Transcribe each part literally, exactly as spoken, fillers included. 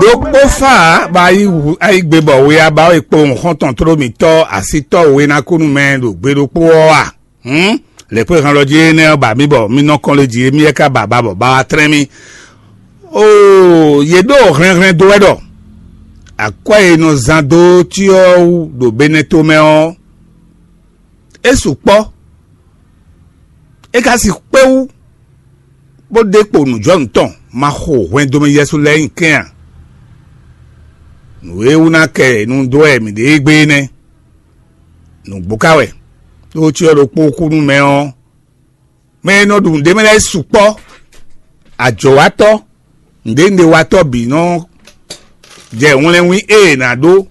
Ó kpó fá bɔ ayí gbe bɔ we aba é kpo xɔ́ntɔn tló mǐtɔn asítɔ́ we ná kú nú mɛ ɖo gbe ɖokpó ɔ́ a? Hǔn, lɛ̌kpéhan lɔ jí énɛ́ ɔ́ ba mì bɔ mì nɔ kɔn lé jí émí é ka ba ba bɔ ba wá tlɛ́n mì. Oo, yě ɖo hlɛnhlɛn dó wɛ ɖɔ akwɛ́ e nɔ zán dó cyɔ wú ɖo Benɛto mɛ ɔ́, é sukpɔ́. É ka sixú kpé wú, bó ɖe kpo nǔjɔnǔ tɔn ma xo hwɛndo mɛ Yɛsu lɛ́ɛ nyi kɛ́n a? Nǔ e wú ná kɛ nu dó wɛ mǐ ɖe égbé é nɛ́. Nǔgbó ka wɛ, ɖó cyɔ ɖokpó kú nú mɛ ɔ́, mɛ e nɔ ɖu nǔɖé mɛ lɛ́ɛ sukpɔ́. Ajɔ̌watɔ́, nǔɖénúɖéwatɔ́ bǐ nɔ jɛ wlɛ́nwín e è nǎ ɖó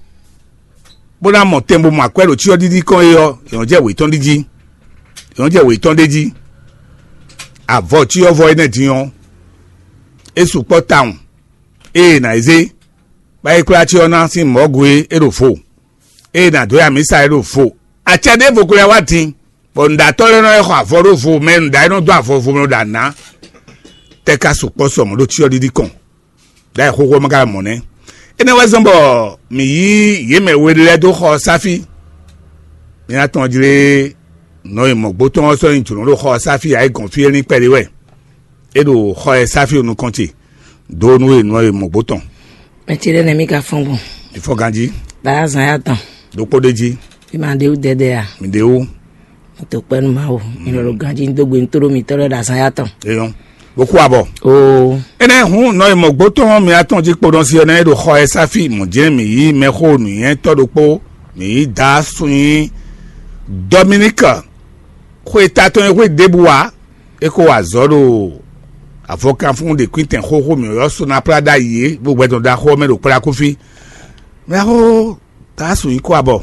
bó ná mɔ tɛn bó mɔ akwɛ́ ɖo cyɔ́ɖiɖi kɔn é ɔ́, è nɔ jɛ wětɔn ɖi jí. È nɔ jɛ wětɔn ɖé jí. Avɔ cyɔ́vɔ énɛ́ din ɔ́, é sukpɔ́ tawun. Ée è nǎ yi zé, bɔ é kwlá cyɔ ná sín mɔ̌gu é, é ɖo vo. Ée è nǎ dó ya mǐsa é ɖo vo. Acɛ ɖěvo ko lɛ́ wá din, bɔ nǔɖatɔ́ lɛ́ɛ nɔ yi xɔ avɔ ɖó vo mɛ, nǔɖa e nɔ dó avɔ vo mɛ nɔ ɖo anǎ. Tɛ́ ka sukpɔ́ sɔ mɔ̌ ɖo cyɔ́ɖiɖi kɔn, ɖ'ayǐ xóxó ɔ́ ma ka mɔ nɛ́. Énɛ́ wɛ zɔ́n bɔ mǐ yí yě mɛ we lɛ́ɛ dó xɔ ɔ́ sáfí. Mǐ ná tɔn jlé nɔ e mɔ̌gbó tɔn ɔ́ sɔ́ nyi jǒnɔ ɖo xɔ ɔ́ sáfí ayǐ gɔ̌n fí é lín kpɛɖé wɛ. É ɖo xɔ e sáfí o nukɔn ce dó nú e nɔ e mɔ̌gbó tɔn. Mɛ ce ɖé nɛ́ mì ka fɔ́n gbɔn. Ìfɔ ganjí. Bǎ azǎn ya tɔn. Ɖokpó ɖé jí. Bí ma ɖe wú dɛdɛ a? Mǐ ɖe wú. Mo to kpɛ́ nú Mawu. Mi lɔ ɖo ganjí dó gbe nú tóɖó mitɔ́ lɛ́ɛ ɖo azǎn ya tɔn. Eyɔn. Bó kú abɔ. Oo. Énɛ́ hǔn nɔ e mɔ̌gbó tɔn mǐ atɔn jí kpo nɔ si ɔ́ nɛ́ ɖo xɔ e sáfí mɔ̌ jɛ́n mǐ yí mɛxó nǔnywɛ́tɔ́ ɖokpó, mǐ yí dǎ sun nyi Dɔminíka. Xwe ta tɔn e xwé ɖěbǔ ǎ, é ko wa azɔ̌ ɖo avɔkanfún ɖe kwíntɛn xóxó mǐ ɔ́ só ná plá ɖ'ayǐ é, bó gbɛtɔn ɖaxó ɔ́ mɛ ɖo kplá kú fí. Mɛxó Taasu yi kó abɔ.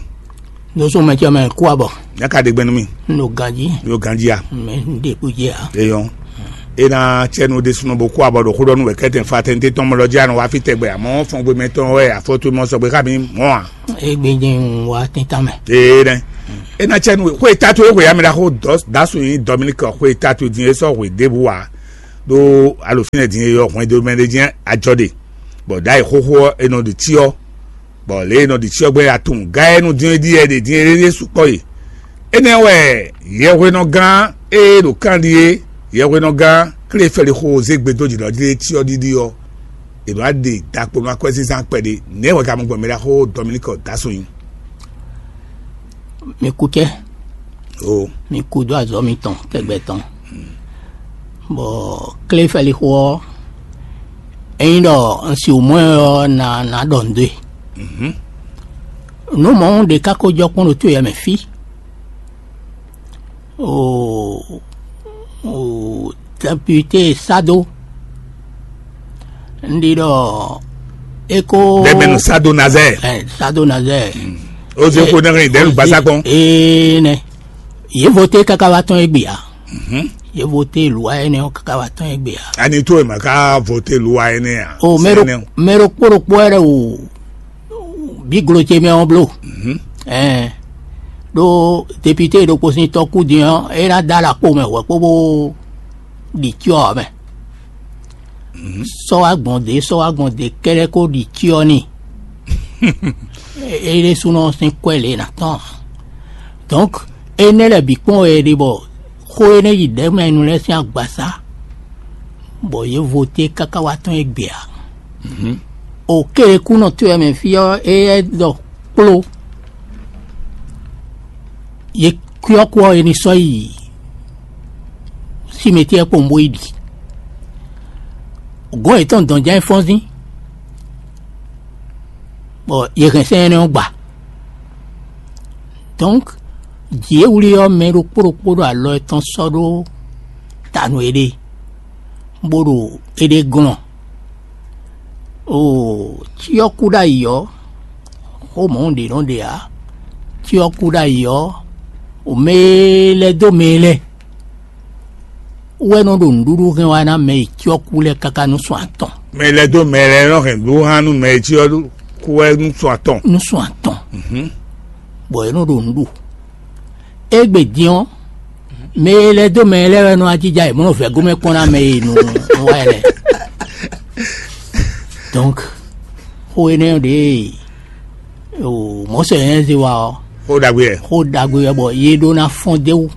Nusɔn mɛ cɛ mɛ kó abɔ. Nyaka ɖe gbɛ nú mì. N ɖo ganjí. Yo ganjí a? Mɛ n ɖe kú jɛ a? Eyɔn. E na cɛ nu ɖésúnɔ bó kó abɔ ɖo xó ɖɔ nú wɛ kɛtɛn fa tɛn tɔn mɔ lɔ jí anɔ wá fi tɛgbɛ, àmọ́ fɔngbe mɛtɔn wɛ afɔtu mɔ sɔgbe xá mi mɔ a? Egbe jɛ ń wá tíntan mɛ. Ee nɛ. E na cɛ nu xwe tatu e xwe amɛ ɖaxó dɔ dasu yi Dominique xwe tatu din e sɔ xwe ɖěbǔ wa ɖo alofínɛ din e yɔ hwɛndo mɛ ɖe jɛ ajɔ ɖe, bɔ ɖayi xóxó ɔ́ e nɔ ɖi cyɔ, bɔ lě e nɔ ɖi cyɔ gbɛn atun gá e nu din e ɖi yɛ ɖe din e ɖe sukpɔ e. Énɛ́ wɛ yɛhwenɔgán e ɖo kan ɖi é, yɛhwenɔgán Klefɛlixo zé gbe dó jǐ ɖɔ jí cyɔ ɖiɖi ɔ́, è nɔ wá ɖe ɖakpo nú akwɛ́zínzán kpɛɖé. Nɛ̌ wɛ ka mɔ gbɔn mɛ ɖaxó Dominique Dassoin? Mi kú cɛ. O. Mi kú dó azɔ̌ mitɔn tɛgbɛ tɔn. Bɔ Klefɛlixo ɔ́, ényí ɖɔ un si wǔ mɔ ɛ ɔ́, na na ɖɔ nǔ dó e. Mhm. Nǔ mɔ̌ ɖé ka ko jɔ kpɔ́n ɖo to yɛ mɛ fí. O, o, député Sado. Un ɖi ɖɔ é ko. Bɛmɛnu Sado Nazɛ. Ɛ, Sado Nazɛ. O ze ko nɛgɛ dɛnu gbasa kpɔn. Ee nɛ. Yě voté káká wá tɔn égbé a? Mhm. Yě voté lǔwa énɛ́ ɔ́ káká wá tɔn égbé a? Ani tó ema ká voté lǔwa énɛ́ a? O mɛ ɖo mɛ ɖo kpó ɖokpó wɛ ɖe o. Bí glo ce mɛ ɔ́ bló. Mhm. Ɛɛ, ɖó député ɖokpó sín tɔ́ kú din ɔ́, é ná dó alɔ kpó mɛ hwɛ̌ kpó bó ɖi cyɔ ɔ́ mɛ. Mhm. Sɔ́ wá gbɔn dě, sɔ́ wá gbɔn dě kɛ́ɖɛ́ kó ɖi cyɔ n'i. É ɖésúnɔ sín kwɛ́ lě ná tɔn ǎ. Donc énɛ́ lɛ́ɛ bǐ kpɔ́n wɛ è ɖe bɔ xó énɛ́ yi ɖɛ̌mɛnu lɛ́ɛ sín agbasá, bɔ yě voté káká wá tɔ́n égbé ǎ. Mhm. O kéɖekúnɔ towe mɛ fí ɔ́, éyɛ́ ɖɔ kpló. Yě kwɛ́ ɔ́ kú ɔ́, è nǐ sɔ́ yi simɛtíɛ kpowun bó yi ɖi. Gɔ̌n yětɔn dɔn jɛ́n fɔ́nzín, bɔ yě hɛn sɛ́n énɛ́ ɔ́ gba. Donc jǐ e wlí ɔ́, mɛ ɖokpó ɖokpó ɖo alɔ tɔn sɔ́ ɖó ta nú éɖée, bó ɖo éɖée glɔ́n. Oo, cyɔ kú ɖ'ayǐ ɔ́, xó mɔ̌ ɖě nɔ ɖe ǎ. Cyɔ kú ɖ'ayǐ ɔ́, o mɛ e lɛ́ dó mɛ e lɛ́ wɛ nɔ ɖo nǔɖuɖu hɛn wá ná mɛ e cyɔ kú lɛ́ɛ káká nú sɔn atɔn. Mɛ lɛ́ dó mɛ lɛ́ɛ nɔ hɛn nǔɖuɖu hán nú mɛ e cyɔ kú wɛ nú sɔn atɔn. Nú sɔn atɔn. Mhm. Bɔ é nɔ ɖo nǔ ɖu. Égbé din ɔ́, mɛ e lɛ́ dó mɛ lɛ́ɛ wɛ nɔ ajija e mɔ̌ nɔ vɛ̌ gomɛ kpɔ́n ná mɛ e nɔ wá ɛ lɛ́ɛ. Donc Xó énɛ́ ɖě o mɔ̌ sɔ nyɛ zé wa ɔ́, Xó ɖagbe wɛ. Xó ɖagbe wɛ bɔ yě ɖó ná fɔ́n d'é wú,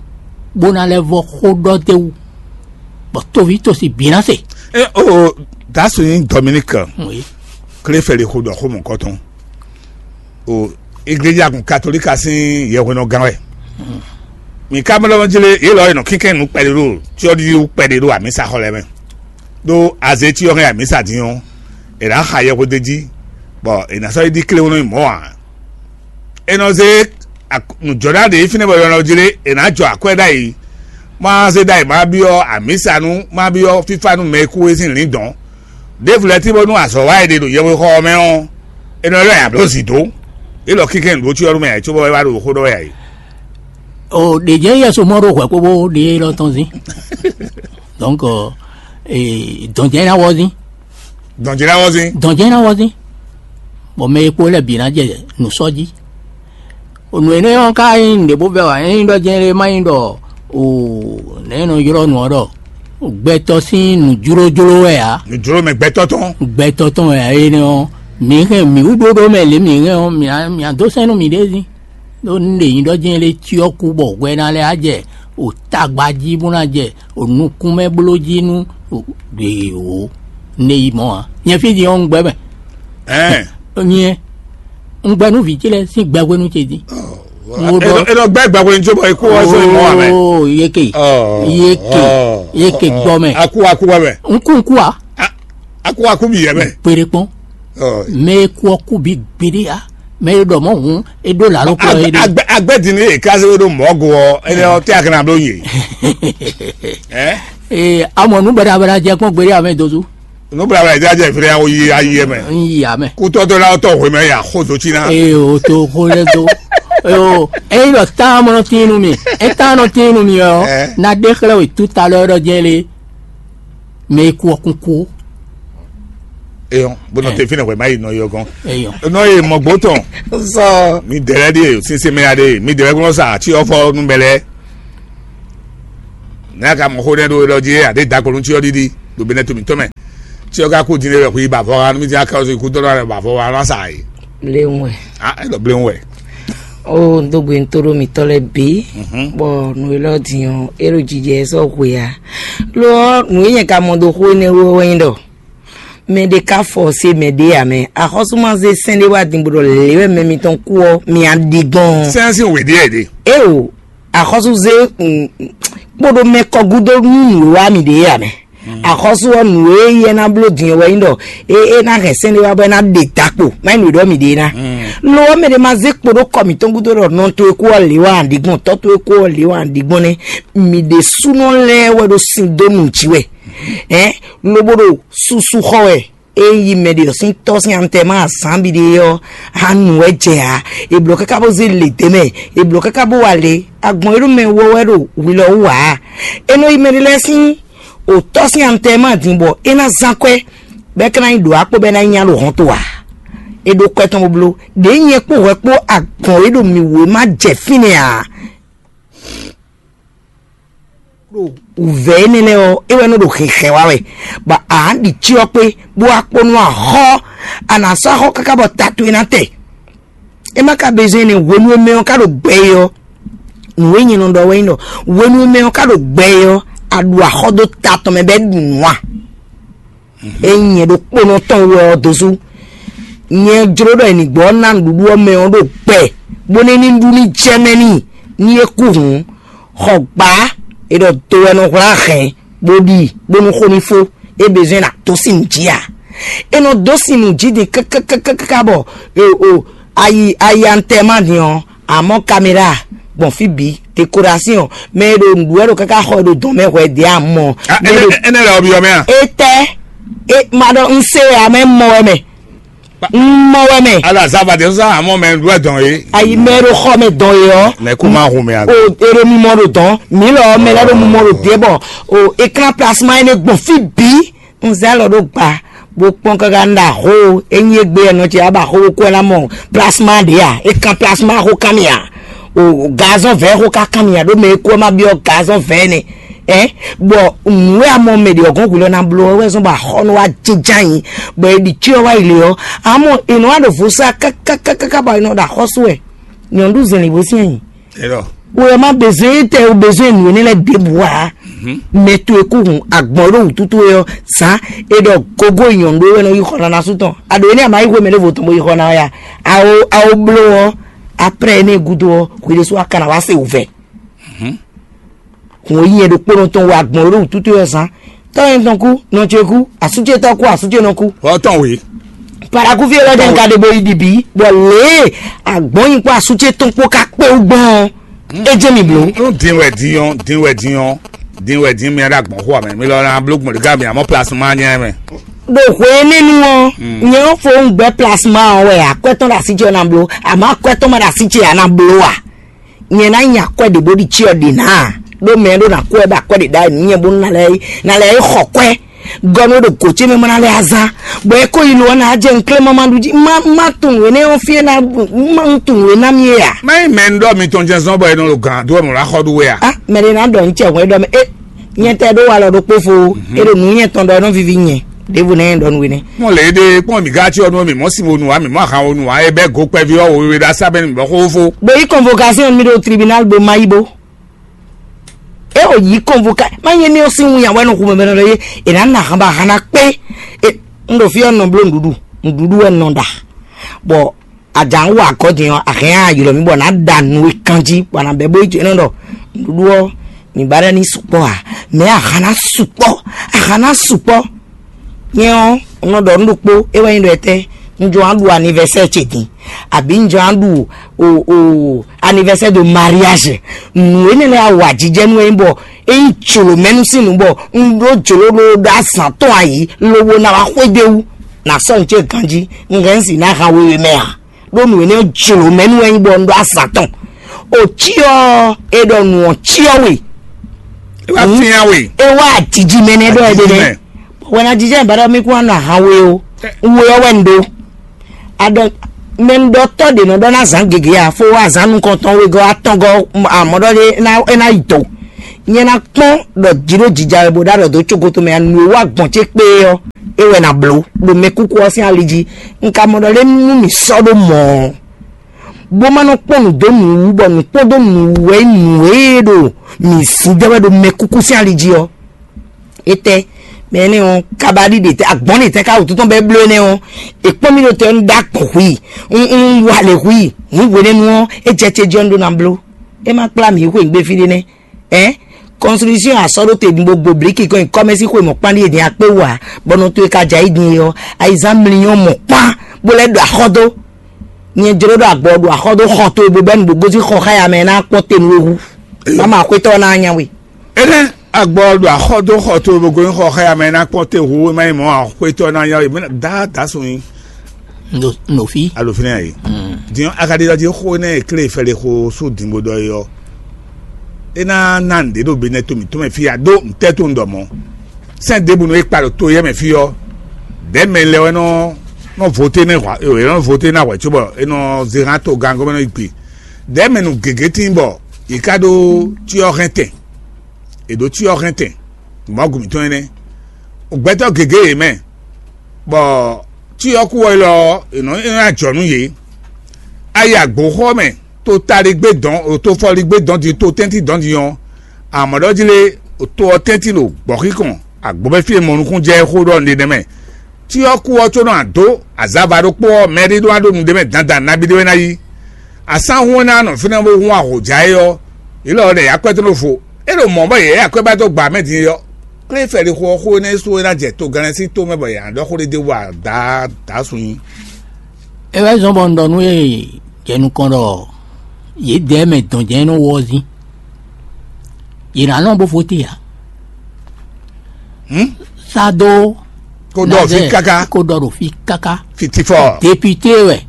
bó ná lɛ́ vɔ́ xó ɖɔ d'é wú, bɔ toví tosi bǐ ná se. E o dasu nyi Dominique Oui. Kléfɛli xó ɖɔ xó mɔ̌kɔtɔn. O igleja kun katolika sín yɛhwenɔgán wɛ. Mi ka mlɔ́ jlé yě lɔ e nɔ kínkɛn nǔ kpɛɖé ɖo cyɔ́ɖiɖi wú kpɛɖé ɖo amǐsa xɔ lɛ́ɛ mɛ. Ɖó azé cyɔ hɛn amǐsa din ɔ́, è nǎ xa yɛhweɖé jí, bɔ è nǎ sɔ́ yi ɖi kléwún nú mɔ̌ ǎ. È nɔ zé ak- nǔjɔɖá ɖě fínɛ́ bɔ è nɔ jlé è nǎ jɔ akwɛ́ ɖ'ayǐ, má zé ɖ'ayǐ má byɔ́ amǐsa nú má byɔ́ fífá nú mɛ e kú é sín lǐndɔ̌n. Ɖěvo lɛ́ɛ tí bónú azɔ̌ wa e ɖe ɖo yɛhwexɔ ɔ́ mɛ ɔ́, è nɔ ylɔ́ ɛ ablǒ zǐ dó. Élɔ́ kínkɛ́n nǔɖó cyɔ nú mɛ ǎ, cóbɔ é wá ɖo xó ɖɔ wɛ ǎ é. O ɖě jɛ yɛsu mɔ ɖo hwɛ kpóbó ɖě lɔ tɔn zín. Donc, dɔn jɛ ná wɔ zín. Dɔn jɛ ná wɔ zín. Dɔn jɛ ná wɔ zín. Bɔ mɛ e kpo lɛ bǐ ná jɛ nǔ sɔ́ jí. O nǔ énɛ́ ɔ́ ka nyí nǔɖé bó vɛ́ wǎ, é nyí ɖɔ jɛ́n lé má nyí ɖɔ o nɛ̌ nɔ ylɔ́ nǔ ɔ́ ɖɔ gbɛtɔ́ sín nǔjlójló wɛ ǎ. Nǔjló mɛ gbɛtɔ́ tɔn. Gbɛtɔ́ tɔn wɛ ǎ énɛ́ ɔ́, mǐ hɛn mǐ wú ɖóɖó mɛ lě mǐ hɛn ɔ́, mǐ ná mǐ ná dó sɛ́n nú mǐɖée zín. Ɖó un ɖe nyi ɖɔ jɛ́n lé cyɔ kú bɔ hwɛ ná lɛ́ á jɛ o tagba jí bó ná jɛ o nukún mɛ bló jí nú o ɖe o ne yi mɔ ǎ. Nyɛ fí din ɔ́ un gbɛ mɛ. Ɛɛ. Nyɛ un gbɛ nú vǐ ce lɛ́ɛ sín gbɛhwenu ce dín. Wo ɖɔ e nɔ gbɛ gbɛhwenu ce bɔ e kú ɔ sɔ yi mɔ wà mɛ. Oo yeke Oh, yeke oh, yeke oh, gbɔ mɛ. Aku aku wà mɛ. N kú n kú a. Aku aku bi yɛ mɛ. Kpere kpɔn. Oh. Mɛ e kú ɔ kú bi gbeɖé a. Mɛ e ɖɔ mɔ hǔn e ɖó lǎló kplɔ e ɖe. Agbɛ din ní èkázé wé ɖó mɔ̌go ɔ, énɛ́ ɔ́ tɛ́ akɛnɛ bló nyi. Ɛ? Ee, amɔ nú bɛɖabɛɖa jɛ kpɔn gbeɖé amɛ dozu. Nú bɛɖabɛɖa jɛ jɛ firi awo yi ayi yɛ mɛ. N yi amɛ. Kútɔ́ dó lá tɔ hwemɛ ya xó dó cí ná. Ee, o to xó lɛ do. Ee, o, eyi ɖɔ tá mɔ nɔ tín nú mi, e tá nɔ tín nú mi ɔ, Ɛ? Na ɖe xlɛ we tout à l'heure ɖɔ jɛ lé. Mɛ e kú ɔ́ kún kú. Eyɔn, bó nɔ te fínɛ́ hwɛ má yi nɔ yɔ gɔn. Eyɔn. Nɔ ye mɔ gbó tɔn. Sɔ. Mi dɛrɛ ɖe, sinsin mɛ ya ɖe, mi dɛrɛ gbɔn sa, tí ɔ fɔ nu bɛlɛ. Ne a ka mɔ xó nɛ ɖo ɖɔ jí, a ɖe da kɔnu tí ɔ ɖiɖi, ɖo bɛnɛ to mi tɔn mɛ. Tí ɔ ka kú din ɖe wɛ hu yi ba vɔ ha, nu mi ti a ka ɔsɔ ikú tɔn ɖe ba vɔ ha la sa yi. Léwɔn. Ah, e ɖɔ bléwɔn wɛ. O n dó gbe n tó ɖó mitɔ́ lɛ́ɛ bǐ, bɔ nǔ élɔ́ din ɔ́, é ɖo jijɛ sɔ́ hwe ǎ. Lo ɔ́, nǔ e nyɛ ka mɔ dó xó énɛ́ wú ɔ́ wɛ nyí ɖɔ mɛ ɖé ka fɔ se mɛ ɖé ǎ mɛ. Axɔ́sú ma zé sɛ́n ɖé wá din bó ɖɔ lě wɛ mɛ mitɔn kú ɔ́, mi á ɖi gbɔn. Sɛ́n sín wě ɖíe ɖe. Éo, axɔ́sú zé kpóɖó mɛ kɔ gúdo nú nǔ e wá mi ɖě ǎ mɛ. Axɔ́sú ɔ́, nǔ e yɛ ná bló din ɔ́ wɛ nyí ɖɔ é é ná hɛn sɛ́n ɖé wá bɔ é ná ɖe dakpo, má nyí nǔ e ɖɔ mi ɖe ná. Lo ɔ́, mɛ ɖé ma zé kpo ɖó kɔ mǐtɔn gúdo ɖɔ nɔ towe kú ɔ́ lě wá aɖǐgbɔn, tɔ́ towe kú ɔ́ lě wá aɖǐgbɔn nɛ́. Mi ɖésúnɔ lɛ́ɛ wɛ ɖo sin dó nǔ jí wɛ, ɛ̌, lobo ɖo susu xɔ wɛ. É yi mɛ ɖě ɔ́ sín tɔ́ sín amtɛ́ má azǎn biɖe ɔ́, hán nǔ wɛ jɛ ǎ. È blǒ káká bó zé lě dó mɛ, è blǒ káká bó wa lě. Agbɔ̌n e ɖo mɛ wɔ wɛ ɖo hwi lɔ wú ǎ. É nɔ yi mɛɖé lɛ́ɛ sín òtɔ́ sín amtɛ́ má din bɔ é ná zán kwɛ́, bɔ é ka ná yi ɖǒ akpó bɔ é ná yi nya ɖo hɔn to ǎ. É ɖó kwɛ́ tɔn bó bló. Ɖěe nyɛ kpó hwɛ kpó agbɔ̌n e ɖo mǐ wú é má jɛ fínɛ́ ǎ. Ɖo wǔvɛ́ énɛ́ lɛ́ɛ ɔ́, é wɛ nɔ ɖo hɛnhɛn wa wɛ, bɔ a nǎ ɖi cyɔ kpé, bó wá kpó nú axɔ́, a nǎ sɔ́ axɔ́ káká bɔ ta towe ná tɛ. É má ka bezɔn énɛ́ hwenu e mɛ ɔ́ ka ɖo gbɛ é ɔ́, nǔ e nyɛ nɔ ɖɔ wɛ nyí ɖɔ hwenu e mɛ ɔ́ ka ɖo gbɛ é ɔ́, a ɖu axɔ́ dó ta tɔn mɛ bɔ é ɖu nǔ a? Ényí nyɛ ɖokpónɔ tɔn wɛ ɔ́ dó sú. Nyɛ jló ɖɔ è nǐ gbɔ ná nǔɖuɖu ɔ́ mɛ ɔ́ ɖo gbɛ, bónú é ní ɖu ní jɛ mɛ n'i, ní é kú hǔn. Xɔ gbǎ, è ɖɔ do wɛ nɔ hwlá hɛn, bó ɖi, bónú xó ní fó, é bezɔ́n ná dó sin nǔ jí ǎ. È nɔ dó sin nǔ jí din káká bɔ o ayi ayi antɛ́ ma din ɔ́, amɔ̌ kaméra gbɔn fí bǐ, dekoration, mɛ e ɖo nǔɖuɖu wɛ ɖo káká xɔ e ɖo dɔn mɛ hwɛ ɖě amɔ. Énɛ́ lɛ ɔ́ byɔ́ mɛ a? Etɛ e ma ɖɔ un se wɛ amɛ mɔ wɛ mɛ. Un mɔ wɛ mɛ. Ala zava de sɔsɔ amɔ mɛ nǔɖuɖu wɛ dɔn ye. Ayi mɛ e ɖo xɔ mɛ dɔn ye ɔ́. Mɛ kó má hu mɛ a? O e ɖo mimɔ ɖo dɔn mi lɔ mɛ lɛ ɖo mimɔ ɖo ɖě bɔ o ekran plasma énɛ́ gbɔn fí bǐ. Un zɛ alɔ ɖó gba bó kpɔ́n káká un ɖo axó. Ényí égbé ɔ́, nɔ ce wá ba xó bó kú ɛ ná mɔ plasma ɖě a? É kan plasma xó kan mì a? O gazɔn vɛ̌ xó ká kan mì a? Ɖó mɛ e kú ɔ́ má byɔ́ gazɔn vɛ̌ nɛ́. Ɛ bɔ nǔ e a mɔ mɛ ɖě ɔ́ gɔ́n hwi lɔ ná bló ɔ́ wɛ zɔ́n bɔ axɔ́nú wá jínjɔ́n ayǐ, bɔ è ɖi cyɔ wá yi lě ɔ́, amɔ è nɔ wá ɖo vo sá kákákáká bɔ è nɔ ɖo axɔ́sú wɛ. Nyɔ̌nu ɖu zɛ̌n lě bó sín ayǐ. Elɔ. Wɛ má bezɔn tɛ o bezɔn nǔ énɛ́ lɛ́ɛ ɖěbǔ ǎ. Mɛ towe kú hun agbɔ̌n ɖo wǔtútú wɛ ɔ́, zǎn è ɖɔ gogo nyɔ̌nu ɖó wɛ nɔ yi xɔ nana sú tɔn. A ɖǒ énɛ́ a ma yi xwé mɛ ɖěvo tɔn bó yi xɔ ná wɛ a? Awo awo bló ɔ́, aprɛ́ énɛ́ gúdo ɔ́, hwi ɖésú a ka ná wá se wǔvɛ́. Hǔn e nyɛ ɖokpónɔ tɔn wɛ agbɔ̌n ɖo wǔtútú ɔ́ zán. Tɔ́ nyɛ tɔn kú, nɔ ce kú, asú ce tɔn kú, asú ce nɔ kú. Wɔ tɔn wě. Paraku fí élɔ́ jẹ́ nka ɖe bo yi ɖi bǐ, bɔ lě e agbɔ̌n nyi kpó asú ce tɔn kpó ka kpé wú gbɔn ɔ́, é jẹ́ mi blǒ. Nú din wɛ din ɔ́, din wɛ din ɔ́, din wɛ din mi ɖo agbɔ̌n xo amɛ. Mi lɔ na bló gbɔn ɖe ká mi amɔ place ma nyɛ mɛ. Ɖo hwe énɛ́ nu ɔ́, nyɛ ɔ́ fo un gbɛ place ma ɔ́ wɛ akwɛ́ tɔn ɖo así ce ɔ́ ná bló, àmọ́ akwɛ́ tɔn ma ɖo así ce ɔ́ ná bló a? Nyɛ ná nyi akwɛ́ ɖě bó ɖi cyɔ ɖě ná a? Ɖó mɛ e ɖó ná kú wɛ ɖo akwɛ́ ɖě ɖ'ayǐ nú nyɛ bónú ná lɛ́ ná lɛ́ xɔ kwɛ́ gɔ́ nú ɖo gǒ ce mɛ bó ná lɛ́ azán, bɔ é ko yi lo ɔ́ ná jɛ un klé ma ma ɖu jí ma ma tunwun énɛ́ ɔ́ fí e ná ma tunwun é ná mì é a? Má nyí mɛ un ɖɔ mitɔn jɛ́n zɔ́n bɔ è nɔ ɖo gǎn dó wɛ mɔ̌ ná xɔ ɖu we a? A mɛ ɖé ná ɖɔ un cɛ hwɛ́ ɖɔ mɛ é nyɛ tɛ ɖó walɔ ɖokpó fo é ɖo nǔ nyɛ tɔn ɖɔ é nɔ vivi nyɛ ɖěvo nɛ́ ɖɔ nú we nɛ́. Mɔ lě ɖe kpɔ́n mǐ gá cyɔ nú mǐ mɔ sin wonu ǎ, mǐ mɔ ahan wonu ǎ, é bɛ́ gǒ kpɛví ɔ́ wěwé ɖo asá bɛ́ nú mǐ bɔ xó fó. Bó yí convocation mi ɖo tribunal bo ma yí bo. É ò yí convocation ma nyɛ ní ɔ́ sín wun yàn wɛ nɔ xumɛ bɛnɛ lɔ yé è nǎ nà ahan bɔ ahan ná kpé. Un ɖo fí ɔ́ nɔ bló nǔɖuɖu nǔɖuɖu wɛ nɔ ɖa. Bɔ àjà ń wà gɔ́ din ɔ́, àhɛn á ylɔ́ mì bɔ nǎ ɖa nǔ e kan jí bɔ a nǎ bɛ́ bó yi jɛ nɔ ɖɔ nǔɖuɖu ɔ́ mǐ ba ɖɔ ní sukpɔ́ ǎ. Mɛ̌ a hǎn ná sukpɔ́? A hǎn ná sukpɔ́. Nyɛ ɔ́, un nɔ ɖɔ nǔ ɖokpó, é wɛ nyí ɖɔ etɛ́, un jɔ wá ɖu anivɛsɛ́ɛ ce din, abǐ un jɔ wá ɖu o o anivɛsɛ́ɛ de mariage. Nǔ énɛ́ lɛ́ɛ a wa jijɛ nú é nyí bɔ é nyí jlǒmɛnu sín nǔ bɔ un ɖó jlǒ ɖó ɖó azǎn tɔn ayǐ lobo ná wá xwedó wú. Nǎ sɔ́ nǔ ce ganjí, un hɛn un si ná han wewe mɛ ǎ. Ɖó nǔ énɛ́ ɔ́ jlǒ mɛ nú wɛ nyí bɔ un ɖó azǎn tɔn. O cyɔ e ɖɔ nǔ ɔ́ cyɔ we. É wá fyán we. É wá jiji mɛ nɛ́ ɖɔ é ɖe nɛ́. Wɛn a jijɛ bɛ́ ɖɔ mí kún wá nɔ ahan we o. We ɔ́ wɛ un ɖó. Aɖɔ mɛ un ɖɔ tɔ́ ɖě nɔ ɖɔ ná zǎn gěgé a fó wá azǎn nukɔntɔn wegɔ́ atɔngɔ́ amɔ̌ ɖɔ ɖé é ná é ná yi do. Nyɛ ná kpɔ́n ɖɔ jǐ ɖo jija wɛ bó ɖó aɖɔ dó cogoto mɛ a nǔ e wá gbɔn ce kpé ɔ́, é wɛ ná bló ɖo mɛkúkú ɔ́ sín ali jí. Un ka mɔ ɖɔ lé nú mǐ sɔ́ ɖó mɔ̌ ɔ́, bó má nɔ kpɔ́n nǔ dó nǔ wú, bɔ nǔ kpɔ́n dó nǔ wú wɛ nyí nǔ e ɖo mǐ zǐn jɛ wɛ ɖo mɛkúkú sín ali jí ɔ́. Étɛ́ mɛ énɛ́ ɔ́, kabaɖi ɖe tɛ́, agbɔ̌n ɖe tɛ́ ká wǔtu tɔn bɔ é bló énɛ́ ɔ́, è kpɔ́n mì ɖo tɛ ɔ́, un ɖó agbɔ̌n hu i, un un wa lě hu i, hǔn hwenɛ́nu ɔ́, é jɛ ce jí ɔ́, un ɖó ná bló. É má kplá mǐ yi xweyǐgbe fí ɖé nɛ́. Ɛ̌, kɔnsulusyɔn a sɔ́ ɖó te din bó gbo blǐki kɔn nyi kɔ́mɛ́sí xwe mɔ̌kpán ɖíe din akpé wú ǎ, bɔ nɔ towe ka jɛ ayí din é ɔ́, ayizán mlínyɔ́ mɔ̌kpán bó lɛ́ ɖo axɔ́ dó. Nyɛ jló ɖɔ agbɔ ɖo axɔ́ dó xɔ towe bó bɛ́ nǔgbó gosín xɔ xá ya mɛ ná kpɔ́n te nú we hú. Mama xwétɔ́ ná nya we. Énɛ́ agbɔ ɖo axɔ́ dó xɔ towe bó gosín xɔ xá ya mɛ ná kpɔ́n te hú, é má nyí mɔ̌ ǎ, xwétɔ́ ná nya we, mɛ ná dá dǎ sun nyi. Nɔ fi. Alo fínɛ́ yìí. Din ɔ́, a ka ɖi ɖɔ jí xó énɛ́ e klé fɛ́ɖé xó sú dǐngbó ɖɔ é ɔ́, é ná ná nǔɖé ɖo benɛ́ to mǐtɔn mɛ fí a ɖó ntɛ́ to un ɖɔ mɔ̌. Sɛ́n ɖěbǔ nɔ e kpa ɖo to éyɛ́ mɛ fí ɔ́, ɖɛ̌ mɛ lɛ́ɛ wɛ nɔ nɔ voté nɛ hwa é nɔ voté ná hwɛ̌ cóbɔ é nɔ zé hán togán gɔ́mɛnɔ yi gbe. Ɖɛ̌ mɛ nǔ gěgé tíin bɔ yě ká ɖó cyɔ hɛn tɛn. È ɖǒ cyɔ hɛn tɛn, Mawu mǐtɔn énɛ́. Gbɛtɔ́ gěgé yě mɛ, bɔ cyɔ kú wɛ lɔ ɔ́, è nɔ é nɔ ajɔ nú yě. A yi agbǒxɔ mɛ, to taligbé dɔn, to fɔligbé dɔn din, to tɛ́ntin dɔn din ɔ́, amɔ̌ ɖɔ jí lé, to ɔ́ tɛ́ntin ɖo gbɔ̌xíkɔn, agbǒ mɛ fí e mɔ nukúnnú jɛ é xó ɖɔ un ɖe nɛ́ mɛ. Cyɔ kú ɔ́ có nɔ adǒ azava ɖokpó ɔ́, mɛ ɖé ɖó ná ɖó nu ɖé mɛ dandan nabí ɖé wɛ ná yí. Asán hún ná nɔ fínɛ́ bó hún ahǒjá é ɔ́, yě lɔ ɖɛ yě akwɛ́ tɔn ɖo vo. É ɖo mɔ̌ bɔ yě yɛ akwɛ́ ba dó gba mɛ din é ɔ́, klé fɛ́ ɖi xó ɔ́ xó énɛ́ sú é ná jɛ togannɛsín tomɛ bɔ yě ná ɖɔ xó ɖé d'é wú adaá sun nyi. É wɛ zɔ́n bɔ un ɖɔ nú yě jɛ nukɔn ɖɔ yědɛɛ mɛ dɔn jɛ́n nɔ wɔ ɔ́ zín. Yě ná nɔ bó fó te ǎ. Hǔn? Sá dó kó ɖɔ fí Nazɛ́ɛ, káká. Kó ɖɔ ɖo fí káká. Fitifɔ. Depite wɛ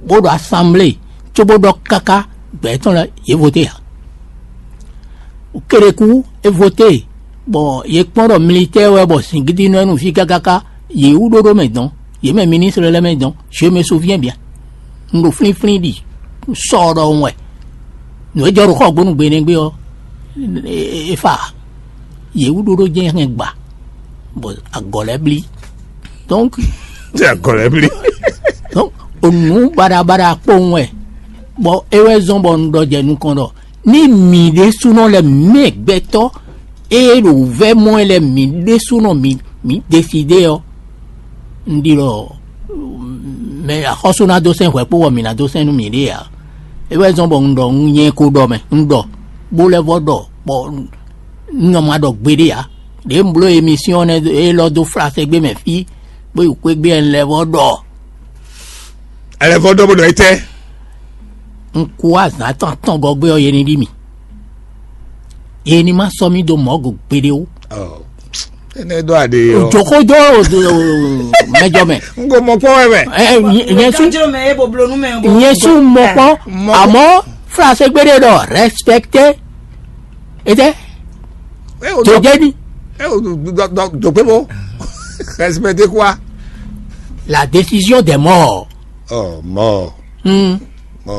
bó ɖo asanblée cóbó ɖɔ káká gbɛ̌ tɔn lɛ́ɛ yě voté ǎ. Kéɖeku é voté bɔ yě kpɔ́n ɖɔ militɛ́ɛ wɛ bɔ zǐngídi nɔ ɛ nú fí kákáká, yě wú ɖóɖó mɛ dɔn, yě mɛ ministre lɛ́ɛ mɛ dɔn, je me souviens bien. Un ɖo flínflín ɖi sɔ ɖɔhun wɛ. Nǔ e jɔ ɖo xɔgbónu gbe nɛgbé ɔ́, é fa. Yě wú ɖóɖó jɛ́n hɛn gba, bɔ agɔ̌ lɛ́ɛ blí. Donc, Ṣé agɔ̌ lɛ́ɛ blí? Donc, o nǔ baɖabaɖa kpowun wɛ, bɔ é wɛ zɔ́n bɔ un ɖɔ jɛ nukɔn ɖɔ ní mǐ ɖésúnɔ lɛ́ɛ mɛ gbɛtɔ́ e ɖo vɛ́ mɔ wɛ lɛ́ɛ mǐ ɖésúnɔ mǐ mǐ desidé ɔ́, un ɖi ɖɔ mɛ axɔ́sú ná dó sɛn hwɛ kpó bɔ mǐ ná dó sɛn nú mǐɖée ǎ. É wɛ zɔ́n bɔ un ɖɔ un nyɛ ko ɖɔ mɛ, un ɖɔ bó lɛ́ vɔ ɖɔ bɔ un nɔ ma ɖɔ gbeɖé ǎ. Ɖě un bló emisiyɔn nɛ́ élɔ́ dó flaségbé mɛ fí, bó yi xwégbé ɛ lɛ́ vɔ ɖɔ. Ɛlɛvɔ ɖɔ bó ɖɔ etɛ. Un kú azǎn tɔn atɔn gɔ́gbé ɔ́, yě ní ɖi mì. Yě ní ma sɔ́ mì dó mɔ̌ go gbeɖé ó. Ɔ, énɛ́ ɖɔ aɖe ɔ. Jǒxó dó mɛjɔ mɛ. N ko mɔ kpɔ́ wɛ mɛ. Ɛ, nyɛ- nyɛ sú Kanjiro mɛ ye bo blonu mɛ bo. Nyɛ sú mɔ kpɔ́. Mɔ- Àmọ́ flaségbé ɖé ɖɔ respecté. Etɛ. Ɛ o Tó dɔ- jẹ́ ní. Ɛ o dɔ- dɔ- dɔ- dɔ pé mo. Respecté quoi? La décision des morts. Ɔ mɔ. Hmm. Ɔ.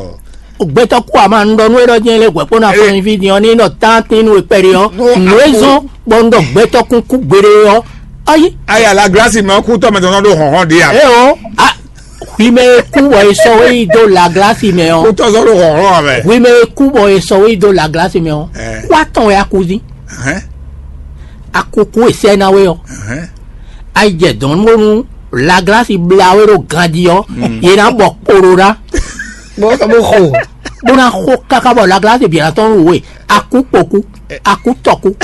Gbɛtɔ́ kú àmà ń ɖɔ nú é ɖɔ jẹ́ lé hwɛ̌kpó ná Ɛ. fún iví din ɔ́ ní ɖɔ tántínú e kpɛɖé ɔ́. Nú Nǔ é akú- zɔ́n bɔ ń ɖɔ gbɛtɔ́ kún kú gbeɖé ɔ́. Ayi. Aya la glasi mɛ kú tɔmɛ tɔn ɖo hɔnhɔn ɖe ya. É o. A, hwi mɛ e kú bɔ è sɔ wé yi dó la glasi mɛ Kú ɔ́. Tɔn sɔ ɖo hɔnhɔn mɛ. Hwi mɛ e kú bɔ è sɔ wé yi dó la glasi mɛ ɔ́. Ɛ. Kú atɔn wɛ a kú dín. Hɛn. Akuku e sɛ ná we ɔ́, Hɛn. Ayi jɛ dɔn bónú laglasi bla we ɖo ganjí ɔ́, yě ná bɔ kporo ná, Bó bó xo. Bó ná xo káká bɔ laglasi bǐ ná tɔn nú we, akú kpoku, akú tɔku.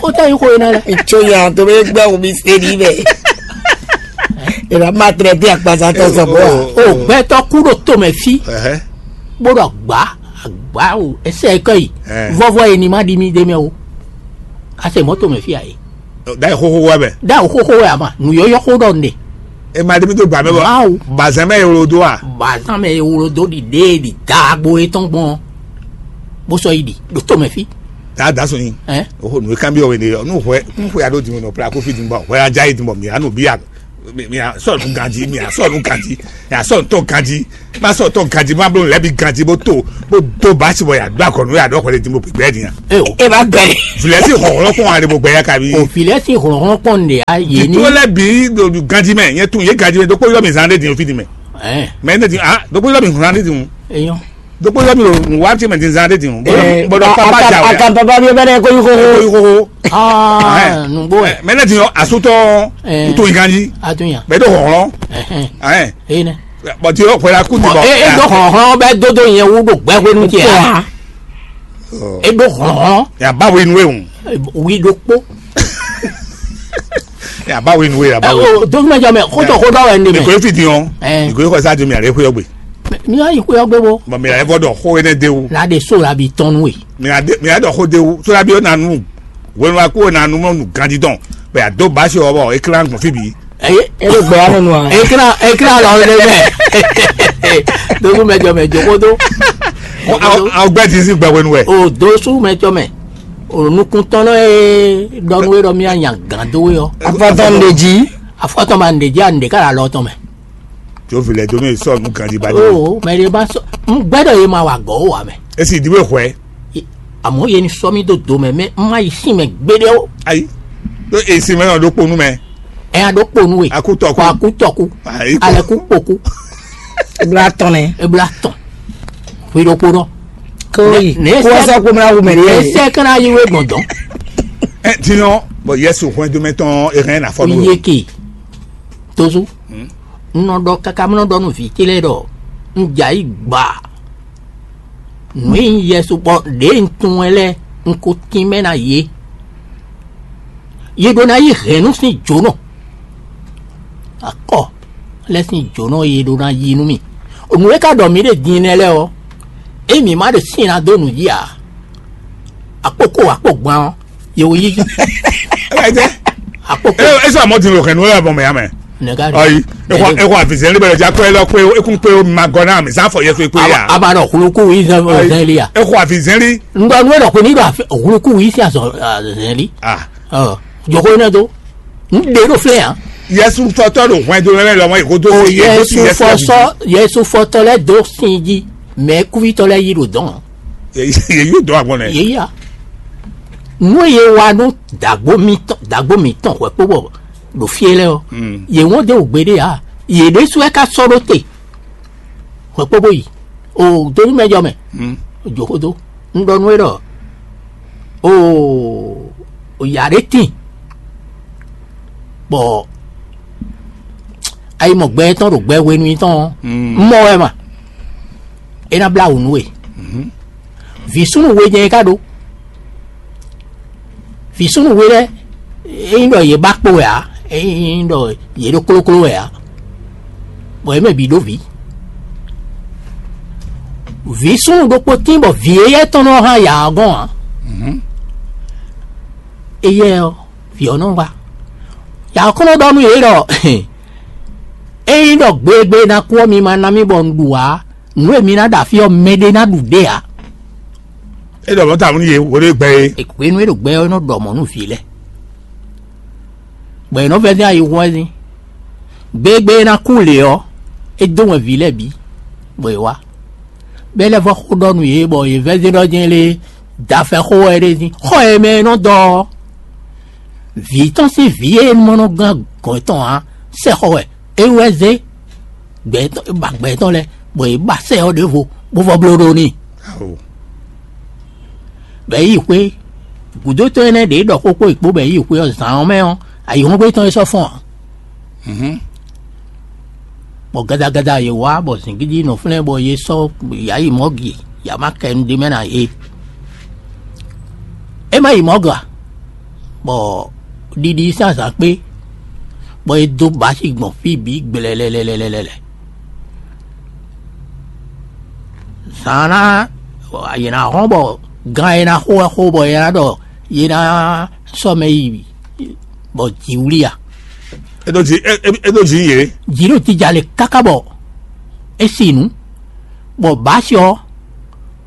Ó tẹ́ yín xo é ná lɛ. Tso yan tó bɛ gbɛ wo mi se ní bɛ. Ìlà máa tẹ̀lé bí àgbàsá tó sọ bọ́ wa. O gbɛtɔ kú ɖo tomɛ fí, Ɛhɛ. Bó ɖo agba, agba o, ɛsɛ kɔ yi. Ɛ. Vɔvɔ yi ni ma ɖi mi ɖe mɛ o. Ase mɔto mɛ fi ayi. Da yi xoxo wa bɛ. Da yi xoxo wa ma. Nu yɔyɔ xo ɖɔ ne. E ma ɖe mi do gba mɛ bɔ. Mawu. Bazan mɛ ewlo do a. Bazan mɛ ewlo do ɖi ɖe ɖi dagbo etɔn gbɔn. Bó sɔ yi ɖi ɖo to mɛ fi. Da da sɔnyi. Ɛ. O xo nu kan bi ɔwɛ ne yɔ. Nu hwɛ nu hwɛ alo di mo nɔ pra ko fi di mo hwɛ adza yi di mo mi anu bi a. Mi mi a sɔ nu ganji mi a sɔ nu ganji mi a sɔ ntɔ ganji. Ma sɔ tɔn ganji ma blo lɛbi ganji bó to bó do basi bɔ yàdó akɔnu yàdó akɔnu di mo gbɛgbɛ di yan. Eo. E ba gbɛ. Vilɛsi hɔhɔlɔ kɔn ale bó gbɛ ya kabi. O vilɛsi hɔhɔlɔ kɔn de a ye ni. Tó lɛ bi do ganji mɛ yɛ tun ye ganji mɛ dókpó yɔ mi zan de di o fi di mɛ. Ɛ. Mɛ ne di ah dókpó yɔ mi zan de di o. Eyɔn. Dókpó yɔ mi lo nu wa ti mɛ di zan de di o. Bɔdɔ papa ja o. Akan papa bi bɛ dɛ ko yi ko ko. Ko yi ko ko. Ah nugbo ɛ. Mɛ ne di yɔ asutɔ. Ɛ. N to yi ganji. A tun yan. Bɛ do hɔhɔlɔ. Ɛhɛn. Ɛ. Eyi nɛ. Bɔn ti o xwela kú ti bɔ. E e ɖó hlɔ̌nhlɔ́n bɛ dódó nyɛ wú ɖo gbɛhwenu ce ǎ. E ɖó hlɔ̌nhlɔ́n. Yaba wo inú ehun. Wi ɖokpó. Yaba wo inú ehun yaba wo. Dókúmɛjọ mɛ xótó xótó wɛ ní Nìkó mɛ. Efi dín ɔ. Ɛ. Nìkó ekɔ sá di mi àlẹ́ xóyɔ gbe. Mi wá yi xóyɔ gbé bo. Bɔn mi àlẹ́ fɔ dɔ xó énɛ́ dé wú. La de so la bi tɔn nú e. Mi àdé mi àdɔ xó dé wú sódà bí ó nà nú. Wenu wa kú ó nà nú mɔ nù gandidɔn. Bɛ àdó bá ṣe wɔ bɔ é klán gbɔn fí bǐ. Eye e ɖo gbɛ ya nɔ nu a? Ekra ekra lɔ le mɛ. Dozu mɛ jɔ mɛ jokodo. Awo gbɛ ti si gbɛ wenu wɛ. O dozu mɛ jɔ mɛ. O nukuntɔn lɔ ye dɔnu ye dɔ mi anya gan do ye ɔ. Afɔtɔn de ji. Afɔtɔn ma de ji a de ka la lɔ tɔn mɛ. Tso vilɛ do mi sɔ nu kan di ba di. O mɛ de ba sɔ n gbɛdɔ ye ma wa gɔ o wa mɛ. Esi di be hwɛ. Àmọ́ yẹn ni sọ mí dó do mɛ mɛ n má yi sín mɛ gbéɖé ó. Ayi. Ɖó èsì mɛ náà ɖó kponú mɛ. Ɛ ya ɖó kponú we. Akútɔkú. Kɔ akútɔkú. Ayi. Alɛkú kpokú. Ebla tɔn nɛ. Ebla tɔn. Hwi ɖokpo nɔ. Kóyi. Ne kó sɛ kó mla wú mɛ ne. Esɛ kana yi we gbɔn dɔn. Ɛ tinɔ bɔ Yesu hwɛn do mɛ tɔn ehɛn na fɔ nú. Yeke. Tozu. N nɔ ɖɔ káká mlɔ ɖɔ nú vǐ ce lɛ́ɛ ɖɔ un jɛ ayǐ gba. Nǔ e nyí Yɛsu bɔ ɖěe un tunwun ɛ lɛ́ɛ un ko tínmɛ ná yě. Yě ɖó ná yí hɛ̌nnu sín jǒnɔ. Akɔ lɛ́ɛ sín jǒnɔ e yě ɖó ná yí nú mì. Nǔ e ka ɖɔ mǐ ɖe din nɛ́ lɛ́ɛ ɔ́, ényí mǐ ma ɖe sín ná dó nǔ jí ǎ, akpókó akpó gban ɔ́, yě wò yí. Ɛ jẹ́. Akpókó. Ɛ ɛ sọ àmọ́ dín lò hɛn nú ẹ bọ̀ mẹ́ yá mẹ́. Nɛgá. Ɔyi. Ekɔ ekɔ avizɛn libɛ lɔdza kpɛ lɔ kpɛ ekun kpɛ o ma gɔ na mi sanfɔ yɛ so ekpe ya. Aba nɔ huluku yi zɛn zɛn li ya. Ekɔ avizɛn li. Ŋgɔ nu ɖɔ ko ni ɖɔ huluku yi si azɔ zɛn li. Ah. Ɔ joko ne do. N de ɖo filɛ yan. Yesu fɔtɔ ɖo hwɛndo lɛ lɔmɔ eko do. O Yesu fɔsɔ Yesu fɔtɔ lɛ do sin ji mɛ kuvitɔ lɛ yi ɖo dɔn. Yesu dɔn agbɔn nɛ. Yeya. Nǔ e yě wa nú dǎgbó mǐtɔn dǎgbó mǐtɔn hwɛ̌kpóbɔ ɖo fí e lɛ́ɛ ɔ́, yě wɔn dó wǔgbé ɖé ǎ. Yě ɖésú wɛ ka sɔ́ ɖó te hwɛ̌kpóbó yi. O dó nú mɛ jɔ mɛ, jǒ xó dó. Un ɖɔ nú we ɖɔ o yǎ ɖé tíin, bɔ ayi mɔ gbɛ tɔn ɖo gbɛ hwenu tɔn ɔ́, un mɔ wɛ ma. É ná blá wǔ nú we. Vǐ súnnu we jɛ́n é ka ɖó. Vǐ súnnu we lɛ́ɛ, é nyí ɖɔ yě ba kpo wɛ ǎ, é nyí ɖɔ yě ɖó klókló wɛ ǎ, bɔ yě mɛ bǐ ɖó vǐ. Vǐ súnnu ɖokpó tín bɔ vǐ éyɛ́ tɔn nɔ hán yǎ ɔ́ gɔ́n ǎ. Éyɛ́ ɔ́, vǐ ɔ́ nɔ wá. Yǎ ɔ́ kɔn nɔ ɖɔ nú yě ɖɔ ényí ɖɔ gbegbe ná kú ɔ́, mi ma ná mì bɔ un ɖu ǎ. Nǔ e mi ná ɖo afí ɔ́, mɛɖé ná ɖu ɖě ǎ. É ɖɔ mɔ̌ tawun nú yě, wǒ ɖé gbɛ é. Hwenu e ɖo gbɛ ɔ́, é nɔ ɖɔ mɔ̌ nú vǐ lɛ́ɛ, bɔ è nɔ vɛ́ dín ayi hwɛ́n dín. Gbegbe e ná kú lě ɔ́, é dó wɛn vǐ lɛ́ɛ bǐ, bɔ è wá. Bɔ é lɛ́ vɔ́ xó ɖɔ nú yě, bɔ yě vɛ́ dín ɖɔ jɛ́n lé, dafɛ xó wɛ é ɖe dín. Xɔ e mɛ e nɔ dɔ ɔ́, vǐ tɔn sín vǐ e mɔ nɔ gán gɔ̌n tɔn ǎ, sɛxɔ wɛ é wɛ zé gbɛ tɔn, é ba gbɛ tɔn lɛ́ɛ, bɔ yě ba sɛ ɔ́ ɖěvo, bó vɔ bló ɖó n'i. Bɔ é yi xwé, gǔdo tɔn énɛ́ ɖě ɖɔ xó kpó yě kpó, bɔ é yi xwé ɔ́, zǎn ɔ́ mɛ ɔ́, ayǐhɔ́ngbe tɔn é sɔ́ fɔ́n ǎ. Bɔ gadagada yě wá, bɔ zǐngídi nɔ flɛ́n, bɔ yě sɔ́ yǎ yi mɔ̌ gi, yǎ ma kɛ nu ɖ'é mɛ ná yě. É ma yi mɔ̌ ga, bɔ ɖiɖi sín azǎn kpé, bɔ é dó bǎ sí gbɔn fí bǐ gblɛlɛlɛlɛlɛ. Zǎn ná, yě ná hɔn bɔ gan e ná xo wɛ xo, bɔ yě ná ɖɔ yě ná sɔ́ mɛ yi, bɔ jǐ wlí a? É ɖó jǐ é é- é ɖó jǐ yě. Jǐ ɖo jija le káká bɔ é si nǔ, bɔ bǎ sí ɔ́,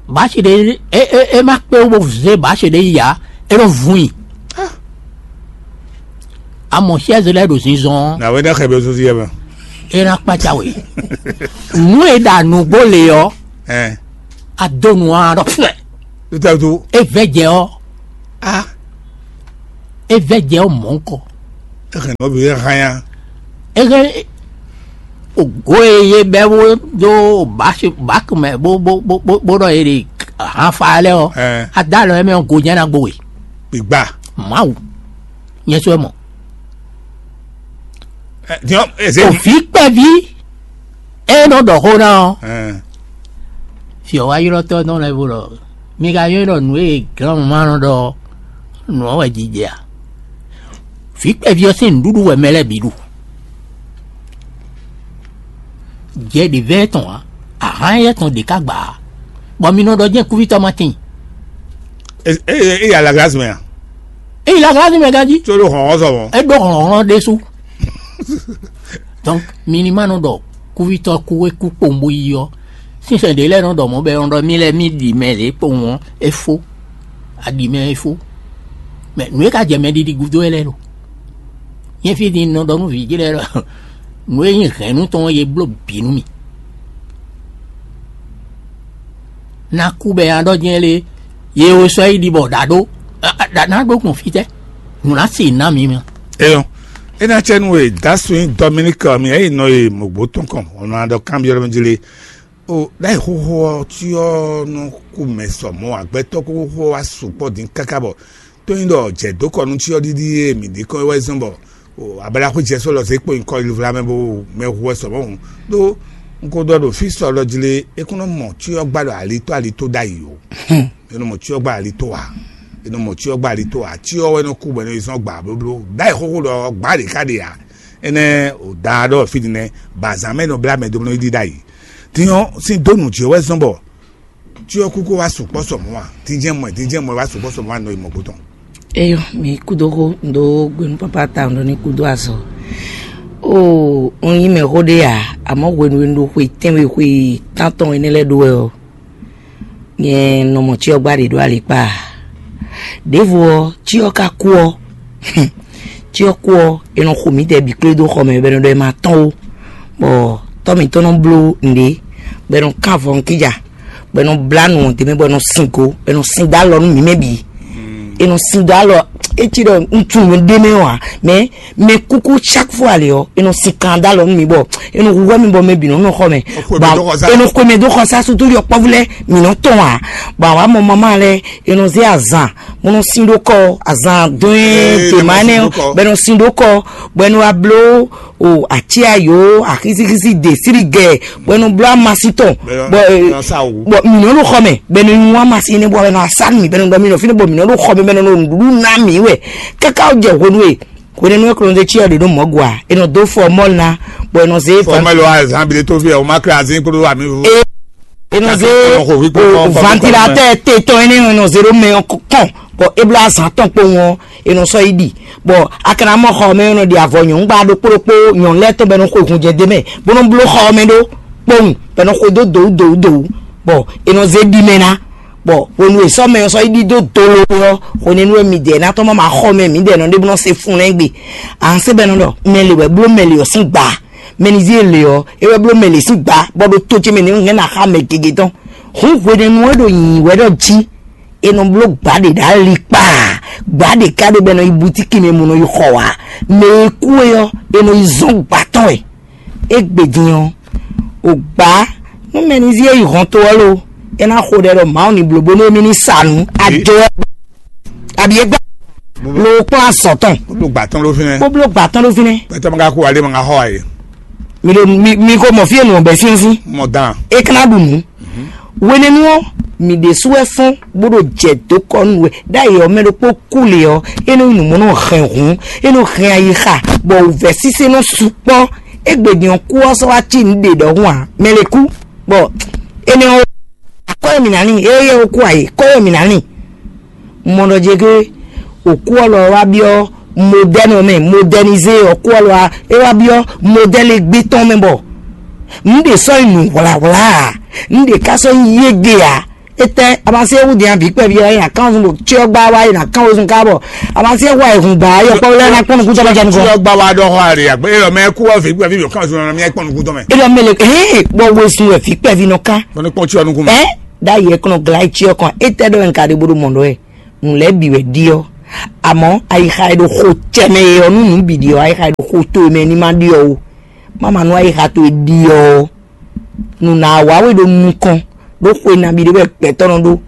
bǎ sí ɖé é é é má kpé wú bó zé bǎ sí ɖé yi ǎ, é nɔ vun i. A mɔ siɛ́zi lɛ́ɛ ɖo zinzɔn ɔ́, Na wɛ ɖe xɛ bɛ sɔsi yɛ mɛ. É ná kpácá we. Nǔ e ɖa nǔgbó le ɔ́, Ɛn. A dó nu ɔ́, a ɖɔ fúɛ. Tutɛtu. É vɛ́ jɛ ɔ́, A. É vɛ́ jɛ ɔ́ mɔ̌ ŋkɔ. Exɛ nɔ bi hanya. É hɛn ògo e yé bɛ́ bó dó bási báku mɛ bó bó bó bó bó ɖɔ yé ɖe hanfa lɛ́ɛ ɔ́, Ɛn. A dó alɔ émɛ ɔ́, go jɛ́n ná gbo we. Gbigba. Mawu, nyɛ sɔ́ ɛ mɔ. Ɛ, diɔ eze. Òfin kpɛví é nɔ ɖɔ xó ná ɔ́, Ɛn. Fiɔwáylɔ́tɔ́ nɔ lɛ́ bo ɖɔ: "Mi ka nywɛ́ ɖɔ nǔ e glɔ́mɔ ma nɔ ɖɔ ɔ́, nǔ ɔ́ wɛ jijɛ a? Vǐ kpɛví ɔ́ sín nǔɖuɖu wɛ mɛ lɛ́ɛ bǐ ɖu. Jɛ ɖě vɛ́ tɔn ǎ, ahán éyɛ́ tɔn ɖě ká gbǎ ǎ, bɔ mi nɔ ɖɔ jɛ́n kúvítɔ́ ma tíin." E e e ya la glace mɛ a? É yi la glází mɛ ganjí. Tso ɖo hlɔ̌nhlɔ́n sɔ mɔ̌. É ɖó hlɔ̌nhlɔ́n ɖésú. Donc, mi ní ma nɔ ɖɔ kúvítɔ́ kú é kú kpowun bó yi ɔ́, sínsɛn ɖě lɛ́ɛ nɔ ɖɔ mɔ̌ bɔ é nɔ ɖɔ mì lɛ́ɛ mì ɖi mɛ lě kpowun ɔ́, é fó. A ɖi mɛ é fó. Mɛ nǔ e ka jɛ mɛ ɖiɖi gúdo é lɛ́ɛ ɖo. Nyɛ fí din nɔ ɖɔ nú vǐ ce lɛ́ɛ ɖɔ nǔ e nyí hɛ̌nnu tɔn ɔ́, yě bló bǐ nú mì. Ná kú bɛ nya ɖɔ jɛ́n lé, ye wo sɔ́ yi ɖi bɔ ɖǎ ɖó, ɖǎ ná ɖó gbɔn fítɛ́? Nǔ ná si ná mi mɛ. Eyɔn, ena cɛ nu e dasu nyi Dominique mi eyi nɔ yi mɔgbo tɔn kɔn, ɔnɔ aɖɔ kanbiɔ ɖe jli. O ɖayi xoxo ɔ ti ɔ nɔ ku mɛ sɔ mɔ agbɛtɔ koko xo wa sukpɔ din kaka bɔ tó nyi ɖɔ jɛ dó kɔ nú ti ɔ ɖiɖi e mi ɖi kɔ wɛ zɔn bɔ o abala xo jɛ sɔ lɔ zé kpo nyikɔ yi vla mɛ bo mɛ hu wɛ sɔ mɔ hu ɖó n ko ɖɔ ɖo fi sɔ lɔ jli e kún nɔ mɔ ti ɔ gba ɖo ali tó ali tó ɖayi o. E nɔ mɔ ti ɔ gba ali tó a? E nɔ mɔ ti ɔ gba ali tó a? Ti ɔ wɛ nɔ ku bɔ e nɔ yi zɔn gba blóbló ɖayi xoxo ɖɔ gba ɖe ka ɖe a? Enɛ o da ɖɔ fi din nɛ ba zan mɛ nɔ bla mɛ do nɔ yi ɖi ɖayi. Din ɔ sin dó nǔ jí wɛ zɔn bɔ tí ɔ kúkú wá sukpɔ́ sɔ mɔ̌ a? Dín jẹ́ mɔ ɛ, dín jẹ́ mɔ ɛ wá sukpɔ́ sɔ mɔ̌ a nɔ yi mɔ gbó tɔn. Eyɔ, mi kúdó xó ndo gbenu papa ta ndo ní kúdó azɔ. O, un yí mɛ xó ɖé a, àmọ́ hwenu e un ɖo xwe tɛ́nwe xwe tántɔn énɛ́ lɛ́ɛ ɖó wɛ ɔ́, nyɛ nɔ mɔ cyɔ gbá ɖě ɖó alikpá a? Ɖěvo ɔ́, cyɔ ka kú ɔ́, cyɔ kú ɔ́, è nɔ xo mǐdɛɛ bǐ kplé dó xɔ mɛ bɔ è nɔ ɖɔ è ma tɔ́n ó, bɔ tɔ́ mǐtɔn nɔ bló nǔɖé, bɔ è nɔ kán avɔ nukíja, bɔ è nɔ blá nǔ ɔ́ d'é mɛ, bɔ è nɔ sin go, è nɔ sin dó alɔ nú mǐ mɛ bǐ. È nɔ sin dó alɔ, é cí ɖɔ un tunwun ɖé mɛ ɔ́ ǎ, mɛ mɛ kúkú chaque fois lě ɔ́, è nɔ sin kan dó alɔ nú mi bɔ è nɔ hu hwɛ mi bɔ mɛ bǐ nɔ nɔ xɔ mɛ. Xwe mɛ dó xɔ sá. È nɔ xwe mɛ dó xɔ sá sutu yɔ kpɔ́vú lɛ́ɛ mǐ nɔ tɔn ǎ. Bɔ àwa mɔ mama lɛ́ɛ è nɔ zé azan bó nɔ sin ɖó kɔ, azan dɔn ɛ Ee, tèmá bó nɔ nɛ sin ɖó kɔ. Bɔ è nɔ sin ɖó kɔ, bɔ è nɔ wá bló o aci ayo axisixisi de siri gɛ bɔ ɛnu bló amasi tɔn Bɛ- bɔ bɛ- sa wo. Bɔ mǐ nɔ ɖo xɔ mɛ bɛ nɔ nyu amasi ne bɔ bɛ nɔ asa mi bɛ nɔ dɔ mi nɔ fi ne bɔ mǐ nɔ ɖo xɔ mɛ bɛ nɔ ɖo nǔɖuɖu ná mǐ wɛ kaka jɛ hwenu e hwenu e kɔnɔ de tsi ɔdɔ ɖo mɔ gua e nɔ do fɔ mɔl na bɔ e nɔ ze Fɔmɛlɛ wa zan bi de to fi ɛ o ma kra azin kpódó ami fo. E nɔ ze Kaka kɔnɔ xo fi kpɔkpɔ o kɔfɛ ventilatɛr te tɔn ene e nɔ ze ɖo mɛ kɔn bɔ e bla azan tɔn kpowun ɔ e nɔ sɔ yi ɖi bɔ a kana mɔ xɔ mɛ e nɔ ɖi avɔ nyɔ̌nu gba ɖokpó ɖokpó nyɔ̌nu lɛ́ɛ tɔn bɔ e nɔ xo hun jɛ de mɛ bó nɔ bló xɔ mɛ ɖó kpowun bɔ e nɔ xo dó dowu dowu dowu bɔ e nɔ ze ɖi mɛ ná bɔ hwenu e sɔ mɛ ɔ sɔ yi ɖi dó dolo ɔ hwenɛnu e midɛɛ ná tɔn ma ma xɔ mɛ midɛɛ nɔ ɖe bó nɔ se fun lɛ́ gbe. An se bɛ nɔ ɖɔ mɛ le wɛ bló mɛ le ɔ sín gba mɛ ni zí e le ɔ é wɛ bló mɛ le sín gba bɔ ɖo tó ce mɛ ni hɛn na xa mɛ gege tɔn. Hun hwenɛnu e ɖo nyi wɛ ɖɔ jí e nɔ bló gbǎ ɖe ɖo ali kpaa gbǎ ɖe ká ɖe bɔ è nɔ yi butíki mɛ mo nɔ yi xɔ wǎ mɛ e kú e ɔ́ è nɔ yi zɔ́n gbǎ tɔn wɛ. Égbé din ɔ́, o gbǎ nú mɛ ní zí e yi hɔn to ɔ́ lo é ná xo ɖɛ ɖɔ Mawu ní bló bónú émí ní sa nǔ ajo ɔ́ abi é gbá lo kplɔ́n azɔ̌ tɔn Ɖo gbà tɔn ló fínɛ́. Bó bló gbǎ tɔn ɖó fínɛ́. Pɛtɛ ma ka kú alé ma ka xɔ ayé. Mi ɖo mi mi ko mɔ fí e nǔ ɔ́ bɛ́ sín sín Mɔ dan. É ká ná ɖu nǔ. Hwenɛ́nu ɔ́, mǐ ɖésú wɛ fɔ́n bó ɖo jɛ dǒ kɔ nú we ɖ'ayǐ ɔ́ mɛ ɖokpó kú lě ɔ́, é nɔ nyí nǔ mɔ nɔ hɛn hǔn, é nɔ hɛn ayixa, bɔ wǔvɛ́ sísé nɔ sukpɔ́. Égbé din ɔ́, kú ɔ́ sɔ́ wá cí nǔ ɖě ɖɔhun ǎ, mɛ lě kú, bɔ énɛ́ ɔ́, kɔ́ e mǐ ná ní, éyɛ́ ɔ́ kú ayǐ, kɔ́ e mǐ ná ní. Mɔ ɖɔ jɛ gé, òkú ɔ́ lɔ wá byɔ́ modɛ́nu mɛ, modɛnizé òkú ɔ́ lɔ wá, é wá byɔ́ modɛ́lu gbé tɔn mɛ bɔ nǔ ɖě sɔ́ nyi nǔ hwlǎhwlá ǎ, nǔ ɖě ká sɔ́ nyi yége ǎ. Étɛ́ a ma se wú din vǐ kpɛví ɔ́, é nǎ kán zun ɖo cyɔ gbá wá, é nǎ kán wezun ká bɔ a ma se wá e hun ba yɔ kpɔ́ lɛ́ɛ ná kpɔ́n nukún tɔ́ jɛ nukɔn. Cyɔ gbá wá ɖɔ xɔ ali àgbẹ̀ é lɔ mɛ kú ɔ́ vǐ kpɛví yɔ kán zun mi kpɔ́n nukún tɔ́ mɛ. É lɔ mɛ le hɛn bɔ wezun wɛ vǐ kpɛví nɔ kán. Bɔ ní kpɔ́n cyɔ nukún mɛ. Ɛ ɖ'ayǐ ɛ kɔnɔ glá cyɔ kɔn, étɛ́ ɖɔ nka ɖe bó ɖo mɔ ɖɔ ɛ, nǔ lɛ́ɛ bǐ wɛ ɖi ɔ́. Àmọ́ ayixa e ɖo xo cɛ mɛ e ɔ́ nú nǔ bǐ ɖi ɔ́, ayixa e ɖo xo to e mɛ ní ma ɖi ɔ́ ó. Má ma nú ayixa towe ɖi ɔ́ ó. Nǔ ná wá we ɖo nukɔn ɖó xwe nabí ɖé wɛ gbɛtɔ́ nɔ ɖó,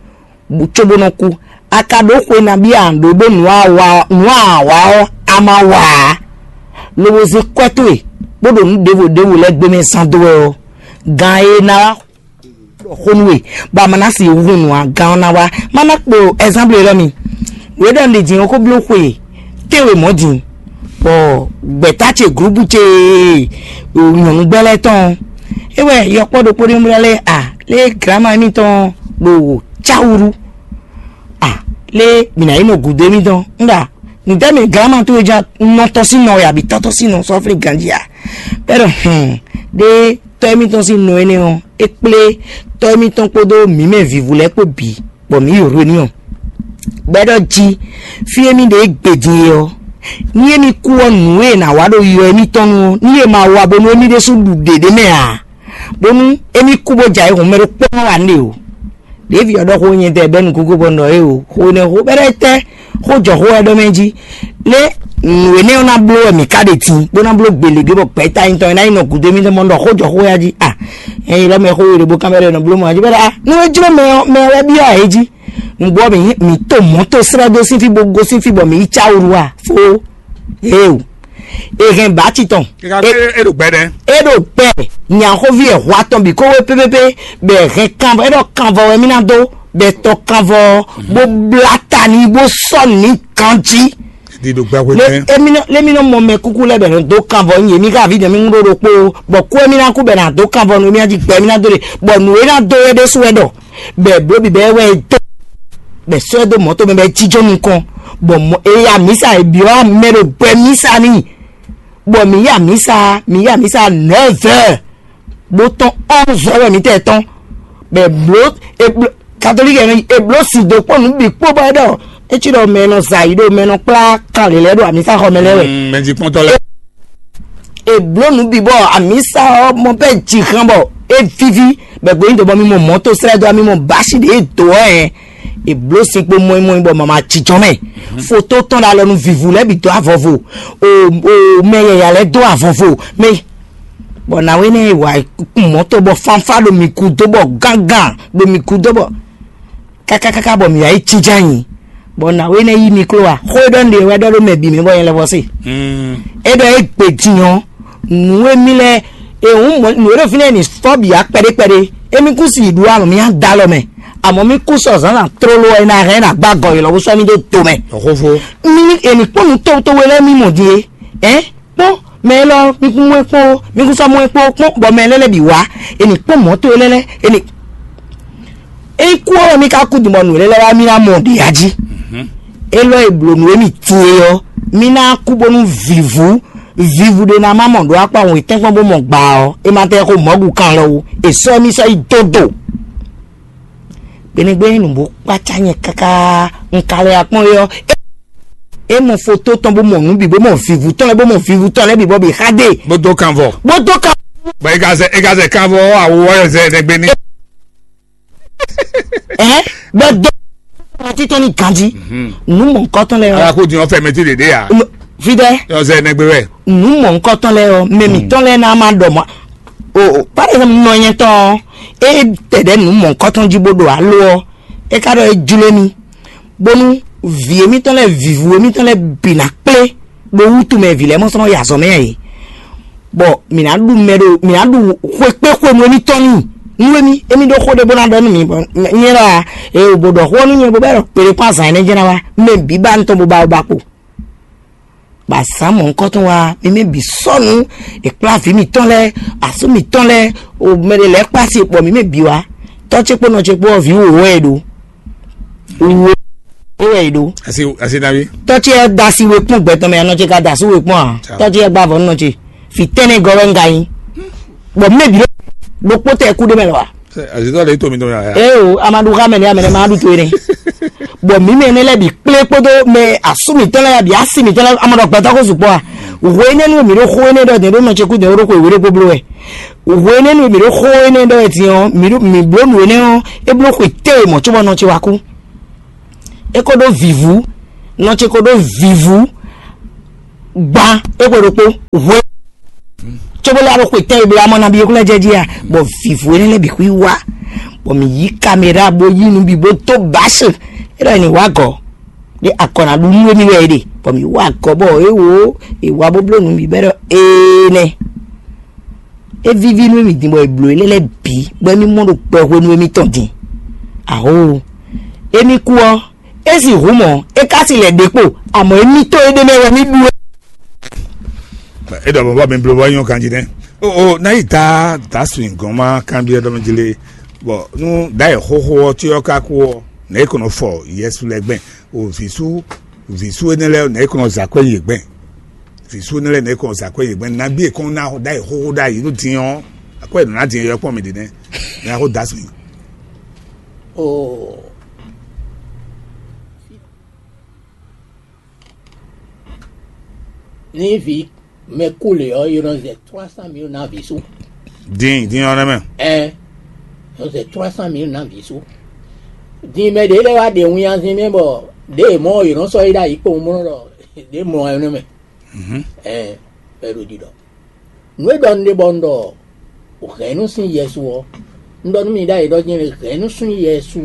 bú cóbó nɔ kú. A ka ɖó xwe nabí a ɖǒ ɖó nǔ a wa nǔ a wa ɔ́, a ma wa ǎ. Lobo zé kwɛ́ towe bó ɖo nǔ ɖěvo ɖěvo lɛ́ɛ gbé mɛ zán dó wɛ ɔ́, gan e ná wá xo nú we, bɔ a ma ná si hun nǔ a gan ɔ́ ná wá. Má ná kpo ɛzánblu élɔ́ mi. Wě ɖɔ un ɖe jǐ ɔ́ xó bló xwe tɛ́nwe mɔ̌ din, bɔ gbɛ̌ta ce glǔbu ce nyɔ̌nu gbɛ́ lɛ́ɛ tɔn ɔ́, é wɛ yɔkpɔ́ ɖokpó ɖé mlá lɛ́ɛ a lé glǎma émítɔn ɖo cáwúɖú a lé mǐ ná yi nɔ gǔdo émítɔn ŋɖa nǔtɛ́ mɛ glǎma towe ján nɔ tɔ́ sín nɔ wɛ abǐ tɔ́ tɔ́ sín nɔ sɔ́flí ganjí a bɛ́ ɖɔ hɛn ɖé tɔ́ émítɔn sín nɔ énɛ́ ɔ́ é kplé tɔ́ émítɔn kpódó mǐ mɛ vǐvú lɛ́ɛ kpó bǐ bɔ mǐ yi hwenu ɔ́. Bɔ é ɖɔ jí fí émí ɖe é gbe din é ɔ́, ní émí kú ɔ́ nǔ e è nǎ wa ɖo yɔ émítɔn nu ɔ́, ní è ma wa bónú émí ɖésú ɖu ɖě ɖé mɛ ǎ, bónú émí kú bó jɛ ayǐhun mɛ ɖokpó ɔ́ wǎ nɖe o. Ɖěvi ɔ́ ɖɔ xó nyɛ tɛ bɛ́ nukúnkún bɔ un ɖɔ é o, xó énɛ́ xó bɛ́ ɖɔ étɛ́ xó jɔ xó wɛ ɖɔ mɛ jí. Lé nǔ énɛ́ ɔ́ ná bló wɛ mǐ ka ɖe tin bó ná bló gbelegbé bɔ gbɛ̌ta nyitɔn e ná nyí nɔ gǔdo émítɔn mɔ un ɖɔ xó jɔ xó ya jí a ɛyin lɔ mɛ xó we ɖe bó kán bɛ́ ɖɔ è nɔ bló mɔ jí bɛ́ ɖɔ a nú é jló mɛ ɔ́ mɛ ɔ́ wɛ byɔ́ ɛ jí. Nǔgbó ɔ́ mǐ mǐ to mɔ̌ to srɛ́ dó sín fí bó gosín fí bɔ mǐ yi cáwuru a fó. Éewu. È hɛn bǎ titɔn. Kíkà pé é ɖo gbɛ ɖɛ. É ɖo gbɛ nyaxóví ẹ̀ hwa tɔn bǐ kó wé pépépé bɛ hɛn kanvɔ é ɖɔ kanvɔ wɛ mí ná dó bɛ tɔ kanvɔ bó blá ta ní bó sɔ́ ní ganjí. Di ɖo gbɛ hwe lé tɛn. Émi nɔ lémi nɔ mɔ mɛ kúkú lɛ bɛ nɔ dó kanvɔ nyi èmi ká àví dɛ̀mí ŋúɖó ɖokpó bɔ kú émi ná kú bɛ nà dó kanvɔ nú émi ná jí gbɛ émi ná dó ɖe bɔ nǔ é ná dó é ɖésú wɛ ɖɔ bɛ bló bǐbɛ wɛ é dó bɛ sɔ́ ɛ dó mɔ̌ tɔn mɛ bɔ é jínjɔ́n nukɔn bɔ mɔ é ya mǐsa é byɔ́ mɛ ɖo gbɛ mísa n'i bɔ mǐ ya mǐsa mǐ ya mǐsa nɛ̌vɛ́ bó tɔ́n onze heures wɛ mǐ tɛ tɔ́n bɔ è blǒ è blǒ katolík ɛ è blǒ sin dó kpɔ́ nǔ bǐ kpó bɔ é ɖɔ é cí ɖɔ mɛ e nɔ zɛ ayǐ ɖo mɛ e nɔ kplá kan lě lɛ́ɛ ɖo amǐsaxɔ mɛ lɛ́ɛ wɛ. Mɛ jí kpɔ́ntɔ́ lɛ́ɛ. È blǒ nǔ bǐ bɔ amǐsa ɔ́ mɔ bɛ́ jǐ hán bɔ é víví bɔ è gbǒ nyi dǒ bɔ mi mɔ mɔ̌ to slɛ́ dó ɔ́ mi mɔ bǎsi ɖě e dǒ ɔ́ hɛn È blǒ sin kpo mɔimɔi bɔ mama jijɔ mɛ. Foto tɔn ɖo alɔ nú vivu lɛ́ɛ bǐ dó avɔvo. O o mɛ yɛya lɛ́ɛ dó avɔvo. Mɛ bɔ nǎwe nɛ wa mɔ̌to bɔ fanfá ɖo mǐ gúdo bɔ gángan ɖo mǐ gúdo bɔ kákákáká bɔ mǐ wá yi jínjɔ́n ayǐ. Bɔ nǎwe nɛ yí mi kló a? Xó e ɖɔ un ɖe wɛ ɖɔ ɖó mɛ bǐ mɛ bɔ nyɛ lɛ́ vɔ se. É ɖɔ é gbe din ɔ́, nǔ e mì lɛ́ɛ e hǔn mɔ nǔ e ɖo fínɛ́ ní fɔ́ bǐ wá kpɛɖé kpɛɖé. Émí kún si yi ɖu alɔ mì á da alɔ mɛ. Àmọ́ mì kún sɔ zǎnzǎn tlóló ɔ́, é ná hɛn é ná gbá gɔ̌ élɔ́ bó sɔ́ mì dó do mɛ. Xóxó. Mì ní è ní kpɔ́n nǔ tówtówé lɛ́ɛ mì mɔ din é. Ɛ kpɔ́n mɛ élɔ́, mì kún mɔ ɛ kpɔ́n ó, mì kún sɔ́ mɔ ɛ kpɔ́n ó kpɔ́n, bɔ mɛ lɛ́ɛ lɛ́ɛ bǐ wá, è nǐ kpɔ́n mɔ̌ towe lɛ́ɛ lɛ́ɛ, è nǐ é kú ɔ́, mì ka kú din bɔ nǔ lɛ́ɛ lɛ́ɛ wá mì ná mɔ ɖě ya jí. Élɔ́ e blǒ nǔ e mì tin e ɔ́, mì ná kú bónú vǐvú vǐvú ɖé ná má mɔ ɖó akpá hun e tɛ́nkpɔ́n bó mɔ gbaa ɔ́, é ma tɛ́ xó mɔ̌ ɖu kan lɔ wú, è sɔ́ mì sɔ́ yi dó do. Gbeɖégbé nǔ bó kpácá nyɛ káká, un ka lɛ akpɔ́n é ɔ́, é mɔ foto tɔn bó mɔ nǔ bǐ bó mɔ vǐvú tɔn lɛ́ɛ bó mɔ vǐvú tɔn lɛ́ɛ bǐ bɔ bǐ xa dé. Bó dó kanvɔ. Bó dó kan. Bɔ é ka zɛ é ka zɛ kanvɔ ɔ́ awu ɔ́ zɛ ɖɛgbɛ ní. Ɛ bɛ dó títɔn ní ganjí. Nǔ mɔ̌hunkɔtɔn lɛ́ɛ ɔ́. Ala kó din ɔ́ fɛ mɛ tí ɖě ɖé a. Fidɛ. Ɔzɛ nɛgbɛ wɛ. Nǔ mɔ̌hunkɔtɔn lɛ́ɛ ɔ́, mɛ mǐtɔn lɛ́ɛ ná má ɖɔ mɔ. O o, par exemple, nɔ nyɛ tɔn ɔ́, é tɛ ɖɛ̌ nǔ mɔ̌hunkɔtɔn jí bó ɖo alo ɔ́, é ka ɖɔ é jló émí, bónú vǐ émítɔn lɛ́ɛ, vǐvú émítɔn lɛ́ɛ bǐ ná kplé ɖó wútu mɛ vǐ lɛ́ɛ mɔ sɔ́ nɔ yi azɔ̌ mɛ ǎ é. Bɔ mǐ ná ɖu mɛ ɖo mǐ ná ɖu xwekpé xwenu émítɔn n'i. Nú émí émí ɖó xó ɖé bó ná ɖɔ nú mǐ bɔ nyɛ ɖɔ a, ee bó ɖɔ xó ɔ́ nú nyɛ bó bɛ́ ɖɔ kpeɖé kpó azǎn énɛ́ jɛ́n ná wá, mɛ bǐ ba nú tɔn bó ba wú ba kpo. Bɔ azǎn mɔ̌hunkɔtɔn wá, mi mɛ bǐ sɔ́ nǔ, è kplá vǐ mǐtɔn lɛ́ɛ, asú mǐtɔn lɛ́ɛ, o mɛ ɖé lɛ́ɛ kpá asi bɔ mi mɛ bǐ wá. Tɔ́ ce kpó nɔ ce kpó ɔ́, vǐ wǒ wɛ è ɖó. Wǒ wɛ è ɖó. Asi asi nabi. Tɔ́ ce ɔ́ da asi we kpɔ́n gbɛ tɔn mɛ, anɔ ce ka da asú we kpɔ́n a? Tɔ́ ce ɔ́ gbá avɔ nɔ ce. Fǐ tɛ́nɛ gɔ́ wɛ un ka nyí. Bɔ mɛ bǐ ɖokpó tɛ kú ɖé mɛ lɔ wa. Azitɔ le to mi tɔn ya. Ee o, amadu xa mɛ ne amɛ ne ma ɖu to ene. Bɔ mi mɛ ne lɛ bi kple kpodo mɛ asu mi tɔn lɛ ya bi asi mi tɔn lɛ amadu gbɛtɔ ko zukpɔ a. Hwe ne nu mi ɖo xo ene ɖɔ de ɖo nɔ ce ku de ɖo xo ewere ko blo wɛ. Hwe ne nu mi ɖo xo ene ɖɔ eti ɔ mi ɖo mi blo nu ene ɔ e blo xo te mɔ tso bɔ nɔ ce wa ku. E ko ɖo vivu, nɔ ce ko ɖo vivu. Gban e ko ɖokpo hwe. Tso bó lé alo xwe tɛn e bla mɔ nabí yókù lɛ jɛ jí a, bɔ vivo énɛ́ lɛ́ɛ bǐ xwí wá, bɔ mǐ yí kamera bó yí nǔ bǐ bó dó báṣe. É ɖɔ è nǐ wá gɔ̌ ɖé akɔ ná ɖu nú émí wɛ é ɖe, bɔ mǐ wá gɔ̌ bɔ é wǒ è wá bó bló nǔ bǐ bɔ é ɖɔ énɛ́. É víví nú émí din bɔ è blǒ énɛ́ lɛ́ɛ bǐ bɔ émí mɔ ɖo kpɛ hwenu émítɔn din. Aho, émí kú ɔ́, é sixú mɔ é ka si lɛ ɖě kpo, àmọ́ émítɔn é ɖ'é mɛ wɛ mì ɖu é. É ɖɔ bɔbɔ mi bló bɔ nyɔ ganjí nɛ. O o, na yi da da swin gɔn ma kanbiɛ dɔ mi jle. Bɔ nu da yi xoxo ɔ tí ɔ ka kú ɔ, nɛ é kɔnɔ fɔ yɛsu lɛ gbɛn. O visu visu énɛ́ lɛ nɛ é kɔnɔ za kwɛ yě gbɛn. Visu énɛ́ lɛ nɛ é kɔnɔ za kwɛ yě gbɛn. Nabi é kɔn na da yi xoxo da yi nu din ɔ, akwɛ nɔ na din yɔ kpɔn mi ɖi nɛ. Nɛ a ko da swin. O Ní vǐ mɛ kú lě ɔ́, è nɔ zɛ trois cent mille ná vǐ sú. Din din ɔ́ nɛ́ mɛ. Ɛn, è nɔ zɛ trois cent mille ná vǐ sú. Din mɛ ɖě lɛ́ɛ wá ɖe winnyazin mɛ bɔ ɖěe mɔ è nɔ sɔ́ yi ɖ'ayǐ kpowun bó nɔ ɖɔ ɖě mɔ ɛ nú mɛ. Ɛn, bɔ è ɖo ɖiɖɔ. Nǔ e ɖɔ un ɖe bɔ un ɖɔ hɛ̌nnu sín Yɛsu ɔ́, un ɖɔ nú mi ɖ'ayǐ ɖɔ nyɛ hɛ̌nnu sín Yɛsu.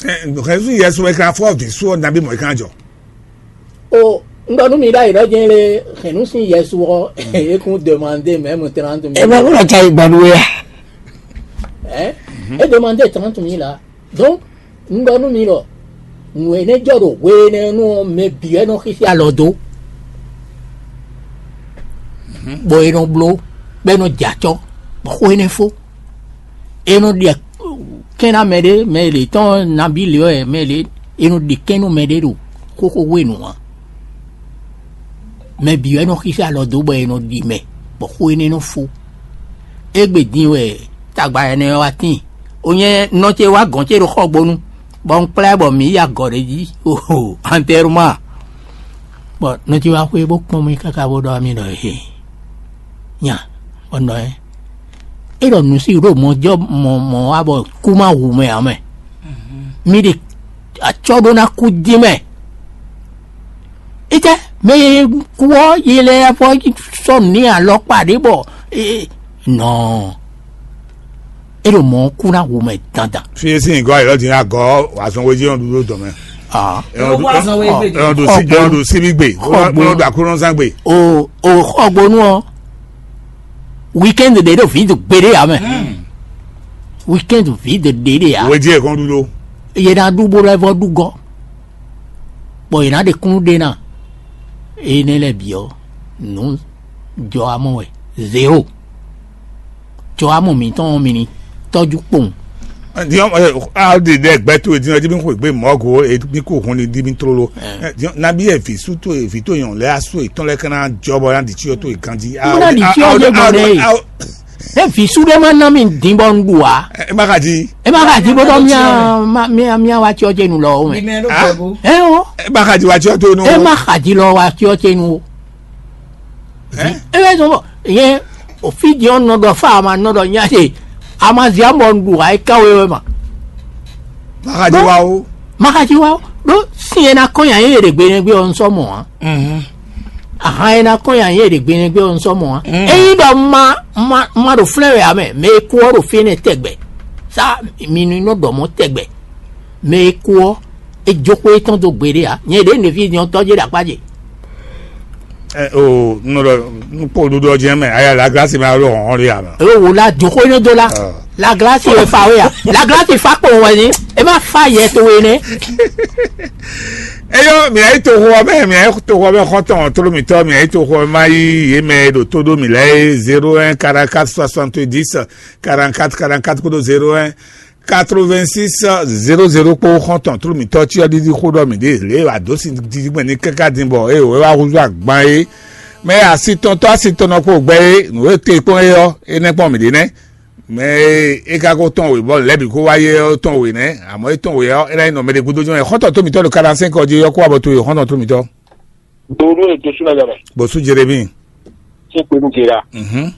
Hɛ̌nnu sín Yɛsu wɛ kan fɔ vǐ sú ɔ́ nabí mɔ̌ é kan jɔ. O, un ɖɔ nú mi ɖ'ayǐ ɖɔ nyɛ hɛ̌nnu sín Yɛsu ɔ́, é kún demandé mɛ̌mu trente mille. Ẹ bá wúlò tsa ìgbà nú ya. Ɛ é demandé trente mille la. Donc, un ɖɔ nú mi ɖɔ nǔ énɛ́ jɔ ɖo hwe énɛ́ nú ɔ́, mɛ bǐ wɛ nɔ xíxí alɔ dó, bɔ è nɔ bló, bɔ è nɔ jɛ acɔ́, bɔ xó énɛ́ fó. È nɔ ɖe kɛ́n ná mɛ ɖé, mɛ lě tɔn nabí lě wɛ, mɛ lě è nɔ ɖe kɛ́n nú mɛ ɖé ɖo xóxó hwenu ǎ. Mɛ bǐ wɛ nɔ xíxí alɔ dó bɔ è nɔ ɖi mɛ, bɔ xó énɛ́ nɔ fó. Égbé din wɛ tagba énɛ́ ɔ́ wá tíin. O nyɛ nɔ ce wá gɔ̌n ce ɖo xɔgbónu, bɔ un kplá ɛ bɔ mǐ yi agɔ̌ ɖé jí, oho, antɛruma. Bɔ nɔ ce wá xwé bó kpɔ́n mì káká bó ɖɔ mì ɖɔ he nya, bɔ un ɖɔ ɛ. É ɖɔ nǔsí ɖo mɔjɔ mɔ mɔ wá bɔ kú má hu mɛ ǎ mɛ. Mì ɖe Acɔ́ ɖó ná kú dín mɛ. Itɛ mɛ e kú ɔ́, yi lɛ vɔ sɔ́ nǔ n'i alɔkpa ɖě bɔ nɔ é ɖo mɔ̌ kú ná wu mɛ dandan. Fi e sín nyǐgɔ́ ayǐ lɔ din ná gɔ́ azɔn wéjí ɔ́ ɖu ɖó dɔ̌n mɛ. Ah. Ɛ ɔ́ ɖu- Ɛ ɔ́ ɖu sí- ɛ ɔ́ ɖu síbí gbe. Ɛ ɔ́ ɖu aklúnɔzán gbe. O o xɔgbónú ɔ́, weekend ɖě ɖo vǐ do gbeɖé ǎ mɛ. Weekend vǐ do ɖě ɖé ǎ. Wéjí ɛ kɔn ɖu ɖó. Yě ná ɖu bó lɛ́ vɔ ɖu gɔ́, bɔ yě ná ɖe kúnnu ɖe ná. Énɛ́ lɛ́ɛ bǐ ɔ́, nǔ jɔ amɔ wɛ, zéro. Jɔ amɔ mǐtɔn ɔ́ mi ní tɔ́jú kpowun. Diɔn, a ɖe ɖɛ gbɛ to din ɔdi mi xwe gbe mɔgo e mi ko hun ni di mi tlolo. Diɔn, nabi e vi su to e vi to yɔn lɛ asu e tɔn lɛ kana jɔ bɔ na di tsi to e ganji. Mo na di tsi ɔjɛ gbɔn ne. E vi su ɖe ma na mi din bɔ n ɖu a. E ma ka di. E ma ka di bɔ dɔ mia mia mia wa tsi ɔjɛ nu lɔ o mɛ. Ɛ o. E ma ka di wa tsi to nu. E ma ka di lɔ wa tsi ɔjɛ nu o. E bɛ sɔn bɔ yɛn o fi di ɔn nɔ dɔ fa a ma nɔ dɔ nya se a ma zi amɔ n ɖu a yi kan wewe ma. Makaji wa o. Makaji wa o. Ɖo sin e na kɔn nya ye ɖe gbe nɛ gbe ɔ n sɔ mɔ a. Ahan e na kɔn nya ye ɖe gbe nɛ gbe ɔ n sɔ mɔ a. Eyi ɖɔ ma ma ma ɖo flɛ wɛ a mɛ mɛ e kú ɔ ɖo fi nɛ tɛgbɛ sa mi nu nɔ ɖɔ mɔ tɛgbɛ mɛ e kú ɔ e jó xwé tɔn dó gbeɖé ǎ. Nyɛ ɖě nǔví nyɔ̌tɔ́ jé ɖo akpá ce. Ɛ o nɔ ɖɔ nukpó ɖuɖɔ jɛ mɛ aya la glasi mɛ alo hɔn ɔli ame. Eo wò la jó xwé nɔ dó la. La glasi wɛ fa wé ya. La glasi fa kpo wɛ ni. E ma fa yɛ to wɛ nɛ. Eyɔ mìa yi toxo ɔbɛ mìa yi toxo ɔbɛ xɔtɔn tolomitɔ mìa yi toxo ɔbɛ ma yi yé mɛ ɖo tó ɖó mì lɛ zéro un quarante quatre soixante dix quarante quatre quarante quatre kódó zéro un quatre-vingt-six zéro zéro kpó xɔ́ntɔn tlú mǐtɔn cyɔ ɖiɖi xó ɖɔ mǐ ɖe lě e wǎ dó sin dídí gbɛn ní káká din bɔ é wɛ wá húzú agban é. Mɛ asitɔntɔ́ asitɔnɔ kpó gbɛ é nǔ e te kpɔ́n é ɔ́, é nɛ́ kpɔ́n mǐ ɖe nɛ́. Mɛ e é ka ko tɔn wě bɔ lɛ̌ bǐ kó wá yé ɔ́ tɔn wě nɛ́, àmọ́ é tɔn wě ɔ́, é ná nyí nɔ mɛ ɖé gúdo jɔ́n ɛ xɔ́ntɔn tó mǐtɔn ɖo kaɖansɛn kɔ jí ɔ́ kó wá bɔ to e xɔ́ntɔn tó mǐtɔn. Donu e dosu na yɔmɛ. Bɔsú Jeremi. Tí pé nu gera. Mhm.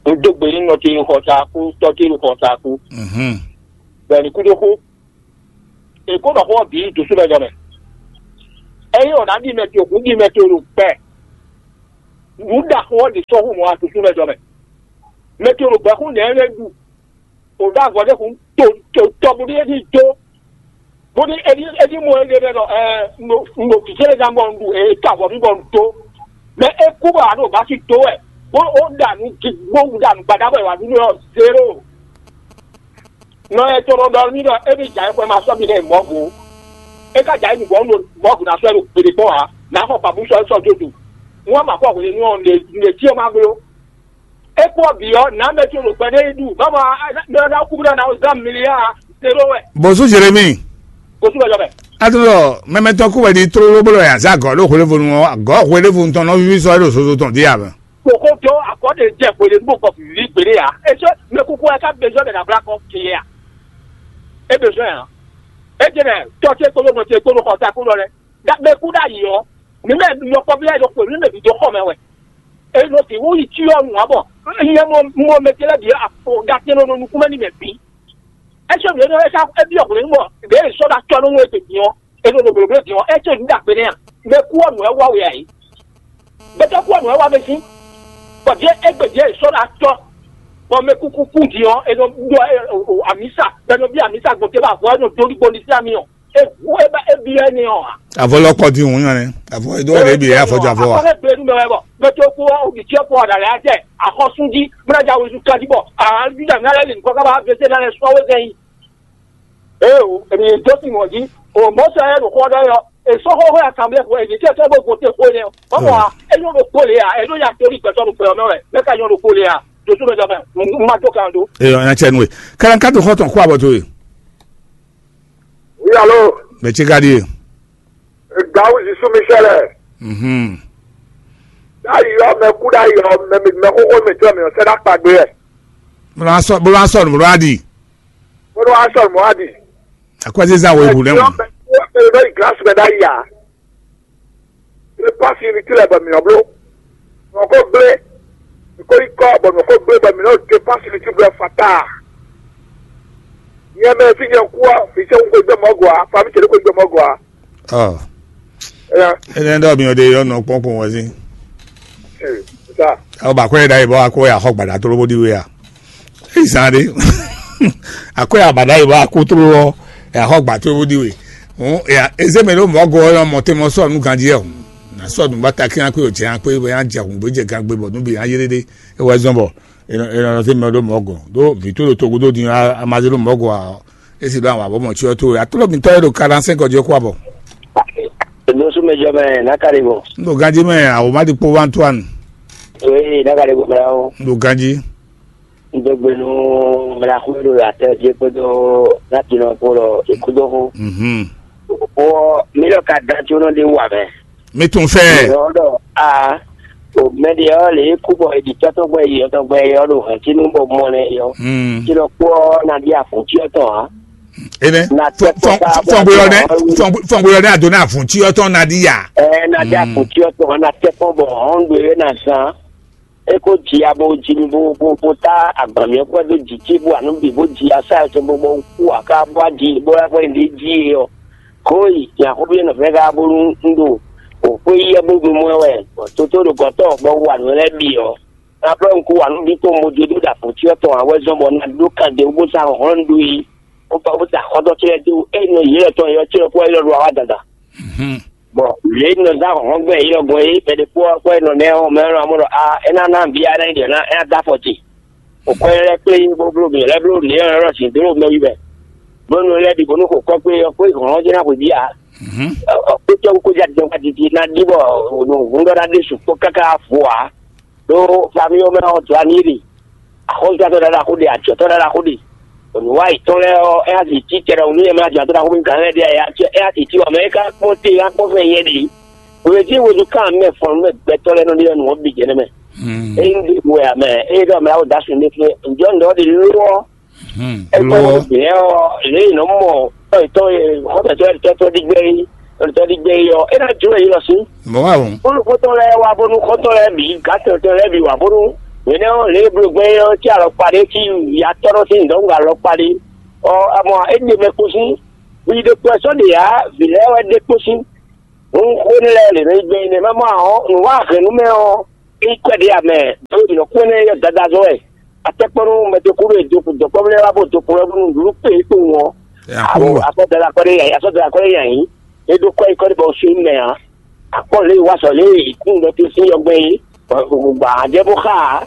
N dó gbe ní nɔ tí xɔ ta kú, tɔ tí xɔ ta kú. Mhm. Bɛ̀ni kú dó kú. Èkó nɔ xó ɔ́ bǐ dosu mɛ jɔ mɛ. Eye ɔ́ ná ɖi mɛ tí òkú ɖi mɛ tí o ɖo gbɛ. Nǔ ɖaxó ɔ́ ɖi sɔ́ hu mɔ adosu mɛ jɔ mɛ. Mɛ tí o ɖo gbɛ kú nɛ̌ lɛ́ ɖu. O ɖó avɔ ɖé kun to to tɔ bó ɖi éɖi dó. Bó ɖi éɖi éɖi mɔ éɖi ɖɔ ɛ no no vǐ cé lɛ ná bɔ un ɖu e to avɔ mi bɔ un dó. Mɛ é kú bɔ a ɖo bá sí dó wɛ bó ó ɖa nǔ gi bó ɖa nǔ gbadá bɔ è wǎ ɖu nú ɔ zéro. Nɔ ɛ tɔnɔ ɖɔ mí ɖɔ é ní jà xwɛ ma sɔ́ mi ɖe mɔ̌go. É ka jà é nǔgbɔ nú mɔ̌go ná sɔ́ ɛ ɖo gbeɖe kpɔ́n ǎ, nǎ xɔ pabú sɔ́ sɔ́ dó do. Wọ́n ma kɔ hwenu ɔ́ lě lě cyɔ ma bló. É kpɔ́ bǐ ɔ́, nǎ mɛ ce ɖo gbɛ ɖé yi ɖu. Báwo a ná kú ná ná zán mili a zéro wɛ. Bɔsú Jeremi. Kò sí wɛjɔ mɛ. Atúndɔ mɛmɛtɔ kú wɛ di tlóló bolo yà zá gɔ̌ ɖó hwelevonu ɔ́, gɔ̌ hwelevonu tɔn nɔ víví sɔ́ é ɖo zozo tɔn dí a mɛ. Kòkó dó akɔ́ ɖe jɛ hwelevonu bɔ vǐví gbeɖé a. É sɔ́ mɛ kúkú wɛ ká bezɔ́ ɖe nǎ blá kɔ́ kiyɛ a. É bezɔ́ ɛ hàn. É jɛ nɛ tɔ ce kpódó nɔ ce kpódó xɔ ta kpódó lɛ. Mɛ kú ɖ'ayǐ ɔ́, mǐ mɛ yɔkpɔ́vú lɛ́ɛ ɖo xwě mǐ mɛ bǐ dó xɔ mɛ wɛ. È nɔ sixú yi cyɔ nǔ ǎ bɔ nyɛ mɔ mɔ mɛ ce lɛ́ɛ bǐ afɔ ɖa tɛn nɔ nukún mɛ n'i mɛ bǐ. É sɔ́ nǔ énɛ́ é ká é byɔ́ hwě mɔ ɖěe è sɔ́ ɖo acɔ́ nú wɛ din ɔ́, è nɔ ɖo blǒbló din ɔ́, é ce nǔ ɖagbe nɛ́ a? Mɛ kú ɔ́ nǔ wɛ wa we ǎ é. Gbɛtɔ́ kú ɔ́ nǔ wɛ wa mɛ sín, bɔ ɖěe égbé ɖěe è sɔ́ ɖo acɔ́, bɔ mɛ kúkú kú din ɔ́, è nɔ ɖɔ amǐsa, bɔ è nɔ byɔ́ amǐsa gbɔn te bɔ avɔ é nɔ dó ɖi gbɔn ɖi sín ami ɔ́. Ehu e ba e bi wɛ ni ɔ. Avɔ lɔ kɔ di ŋu nyɔ nɛ. Avɔ edo wɛ bi afɔ jɔ avɔ wa. Akɔnɛ gbe nu mɛ wɛ bɔ mɛ to ko o bi tiɛ ko ɔda lɛ atɛ akɔsun di mɛ na ja wozu kan di bɔ ahan juda mi alɛ li nkɔ kaba vese na lɛ sɔ wezɛ yi. Ee o emi do si mɔ di o mɔ sɛ yɛ do kɔ dɔ yɔ esɔ xɔ xɔ asanblɛ ko emi tiɛ tɛ bo go te ko nɛ o mɔ a enyo do ko le a eno ya tori gbɛtɔ do gbɛ mɛ wɛ mɛ ka nyɔ do ko le a do so mɛ jɔ mɛ ma do kan do. Ee ɔn ya cɛ nu ye kalan ka to xɔ tɔn ko abɔ to ye. Oui, allô? Mɛ ce ka ɖíe. Gawuzi Sumisɛlɛ. Mhm. Ɖ'ayǐ ɔ́, mɛ kú ɖ'ayǐ ɔ́, mɛ mɛ xóxó mɛ tɔn mɛ ɔ́ sɛ́ ɖó akpa gbé wɛ. Bó ló wá sɔ bó ló wá sɔnù bó ló wá ɖi. Bó ló wá sɔnù bó wá ɖi. Akwɛ́zízá wo ewu lɛ́ wọ̀n. Mɛ ɖó yi gílási mɛ ɖ'ayǐ ǎ. Ebe pasi ni ti lɛ bɔ mǐ nɔ bló. Mǐ nɔ ko gblé. Mǐ ko yi kɔ bɔ mǐ nɔ ko gblé bɔ mǐ nɔ ɖe pasi ni ti bló ɛ fata. Nyɛ mɛ fi nyɛ kú a, fi sɛ ko gbɛ mɔ gɔ a, fa mi cɛ ko gbɛ mɔ gɔ a. Ɔ, Ɛyà, ɛnɛ ɖɔ mi ɔ ɖe yɔ nɔ kpɔn kpɔn wɛ si. Ɛ, sa. Ɔ, ba kɔ yɛ ɖa yi bɔ akɔ ya xɔ gbada tolo bó di we a. Eyi zan ɖe. Akɔ ya ba ɖa yi bɔ akɔ tolo ɔ, ya xɔ gba tolo bó di we. Hɔn ya eze mɛ ɖo mɔ gɔ ɔ mɔ te mɔ sɔ nu ganji ɔ. Na sɔ nu ba ta kí akpé o jɛ akpé bɔ ya jɛ hun gbé jɛ gan gbé bɔ nu bi ya yé ɖe ɖe. E wɛ zɔn bɔ e nɔ e nɔ se mɛ ɖo mɔ gɔ. Ɖo vi to ɖo togo ɖo din a ma se ɖo mɔ gɔ a. Esi ɖo àwọn abɔmɔ tsyɔ tó atɔ́ mitɔ́ e ɖo quarante-cinq ɔ́ jí kó abɔ. Ɖo súnmɛjɔ mɛ nákàlí bɔ. N ɖo ganjí mɛ awòmá ɖi kpó wá Antoine. Ee, nákàlí bɔ mɛ o. N ɖo ganjí. N dó gbe nú mla xú ɖo atɛ jí kpódó látinɔ kpó lɔ ìkúdóxú. Mhm. Bɔ mí lɔ ka dan tí ó nɔ ɖe wà mɛ. Mi tún fɛ. Yɔ ɖɔ a o mɛ ɖe ɔ lě kú bɔ eɖi tɔtɔ gbɛ yi ɔtɔ gbɛ yɔ ɖo hɛn tínú bɔ mɔ nɛ yɔ. Hmm. Tí lɔ kpɔ ɔ na ɖi afun tí ɔtɔ a. Enɛ Na tɛ kpɔ ká bɔ fɔngbeyɔ nɛ a fɔngbeyɔ nɛ ado na afun tí ɔtɔ na ɖi ya. Ɛ na ɖi afun tí ɔtɔ na tɛ kpɔ bɔ hɔn do yɛ na zan. E ko ji abo ji mi bo bo bo ta agban mi kɔ do ji ci bo anu bi bo ji asa to bo bo ku aka bo ji bo ya ko ndi ji e ɔ. Ko yi ya ko bi no fe ga bo nu ndo. O ko yi e bo mo wɛ. Toto do kɔtɔ bo wa no le bi ɔ. Na plɔ nku wa nu bi to mo je do da po ti ɔ tɔn awɛ zɔn bɔ na do kan de bo sa hɔn do yi. O pa bo sa hɔn to ti do e no yi le tɔn yo ti ko yi lo wa dada. Bɔn lě e nɔ zán hlɔ̌nhlɔ́n gbɛn yilɔ́gbɔn é, mɛ ɖé kpó ɔ́ kpó e nɔ nɛ́ ɔ́, mɛ ɔ́ nɔ mɔ ɖɔ a é ná ná nǔ bia ná é ná dó afɔ ce. Xɔ kɔ́ lɛ́ kplé bó bló mǐ lɛ́ bló nǔ e ɔ́ sin dó ɖo mɛ wí mɛ. Bónú lɛ́ bǐ bónú xɔ kɔ́ kpé ɔ́ kpó hlɔ̌nhlɔ́n jɛ́n ná xweyǐ ǎ. Ɔ kpé cɔ́ kó já jɛ́n wá titi ná ɖi bɔ nǔ húndɔ́ ná ɖésú kpó káká vo ǎ. Ɖó famille ɔ́ mɛ ɔ́, dɔ̌ ani ɖe, axɔ́súzatɔ́ ɖaɖa xó ɖe, ajɔ̌tɔ́ ɖaɖa xó ɖe. Nǔwa yětɔn lɛ́ɛ ɔ́, é ná zǐ cí tɛɖɔhun nú yɛ mɛ ajɔ̌tɔ́ ɖaxó mɛ gǎn lɛ́ɛ ɖe aya, é ná zǐ cí wǎ mɛ é ka kpɔ́n te é ná kpɔ́n fɛn nyɛ ɖě. Hwelěví hwenu ka mɛ fɔn nú mɛ gbɛtɔ́ lɛ́ɛ nɔ ɖe ɔ́, nǔ ɔ́ bǐ jɛ nɛ́ mɛ. Ényí ɖěbǔ wɛ ǎ mɛ, ényí ɖɔ mɛ awo dǎ sun ɖé fún ɛ, ǹjọ́ nǔ ɖɔ ɖe ló ɔ́, é kpɛ́ ló ɔ́. Bǐ ɔ́, lě e nɔ mɔ tɔ́ yětɔn e xɔ́mɛtɔ́ yětɔn tɔ́ ɖi gbɛ́ é, tɔ́ ɖi gbɛ́ é ɔ́, é ná jló yě lɔ sín. Mɔ̌ wá o. Bónú xɔ́ntɔn lɛ́ɛ wá bónú xɔ́ntɔn lɛ́ɛ bǐ, gǎtɔ́ntɔn lɛ́ɛ bǐ wá bónú. Hwenɛ́ ɔ́, lě e bló gbɛ́ é ɔ́ cí alɔkpa ɖé cí ya tɔ́ nɔ sín dɔ̌nkpɛ alɔkpa ɖé. Ɔ, amɔ é ɖe mɛ kpo sín. Hwi ɖokpó wɛ sɔ́ ɖe ǎ, vǐ lɛ́ɛ wɛ ɖe kpo sín. Hǔn xó énɛ́ lɛ́ɛ lě nɔ nyí gbɛn énɛ́ má mɔ ǎ ɔ́, nǔ wa hɛn nú mɛ ɔ́, é nyí kwɛ́ ɖé ǎ mɛ, ɖó mǐ nɔ kú énɛ́ yɔ dadá zɔ́ wɛ. Atɛ́kpɔ́nú mɛ dó kú ɖo dɔ̌nkpɔ́vú lɛ́ɛ wá bó dó kplɔ́ nú nǔɖuɖu kpé é kpowun ɔ́. Ɛ, a kú Awo wɛ. Akɔ́ dada kɔ́ ɖé yǎyí, asɔ́ dada kɔ́ ɖé yǎyí. É ɖó kɔ́ yi kɔ́ ɖé bɔ sin mɛ ǎ. Akpɔ́ lě e wá sɔ lě e kún ɖɔ tó sín yɔgbɛ́n é, gbǎ jɛ bó xá ǎ.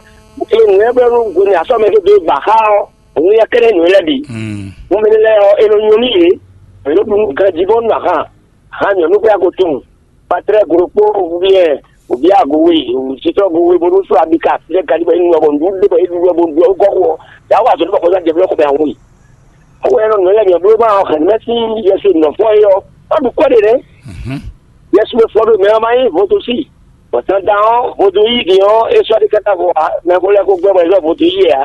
É nǔ lɛ́ɛ blɔ́ nú hwenu e asɔ́ mɛ tó dó gbǎ xá ɔ́, òun yɛ kɛ́ɖɛ́ nǔ lɛ́ɛ bǐ. Hǔn mɛ lɛ́ɛ ɔ́, è nɔ nyɔ nú yě, è nɔ ɖu nú ganjí bɔ nú ahan. Ahan nyɔ̌nu xwé ago tunwun, patlɛ́ glo kpó wúyɛ, wǔbí ago we, sitɔ́ go we, bónú sɔ́ abika fí lɛ́ɛ ganjí bɔ é nu ɔ́, bɔ nǔɖuɖu ɖé bɔ é ɖu ɔ́, bó ɖu ɔ́ gɔ́ xo ɔ́, yǎ wa azɔ̌ ɖé bɔ xɔzán jɛ blɔ́ xɔ mɛ ahun yi. Xó wɛ nɔ nǔ lɛ́ɛ bǐ ɔ́ bló ma ɔ́ hɛn mɛ sín Yɛsu nɔ fɔ́n é ɔ́, ɔ́ ɖu kɔ́ ɖe nɛ́. Yɛsu e fɔ ɖo mɛ ɔ́ ma nyí vodúnsi, bɔ dandan ɔ́, vodún yí din ɔ́, é sɔ́ ɖi káká vo ǎ, mɛ ko lɛ́ ko gbɛ́ bɔ è zɔ́ vodún yí ɛ ǎ.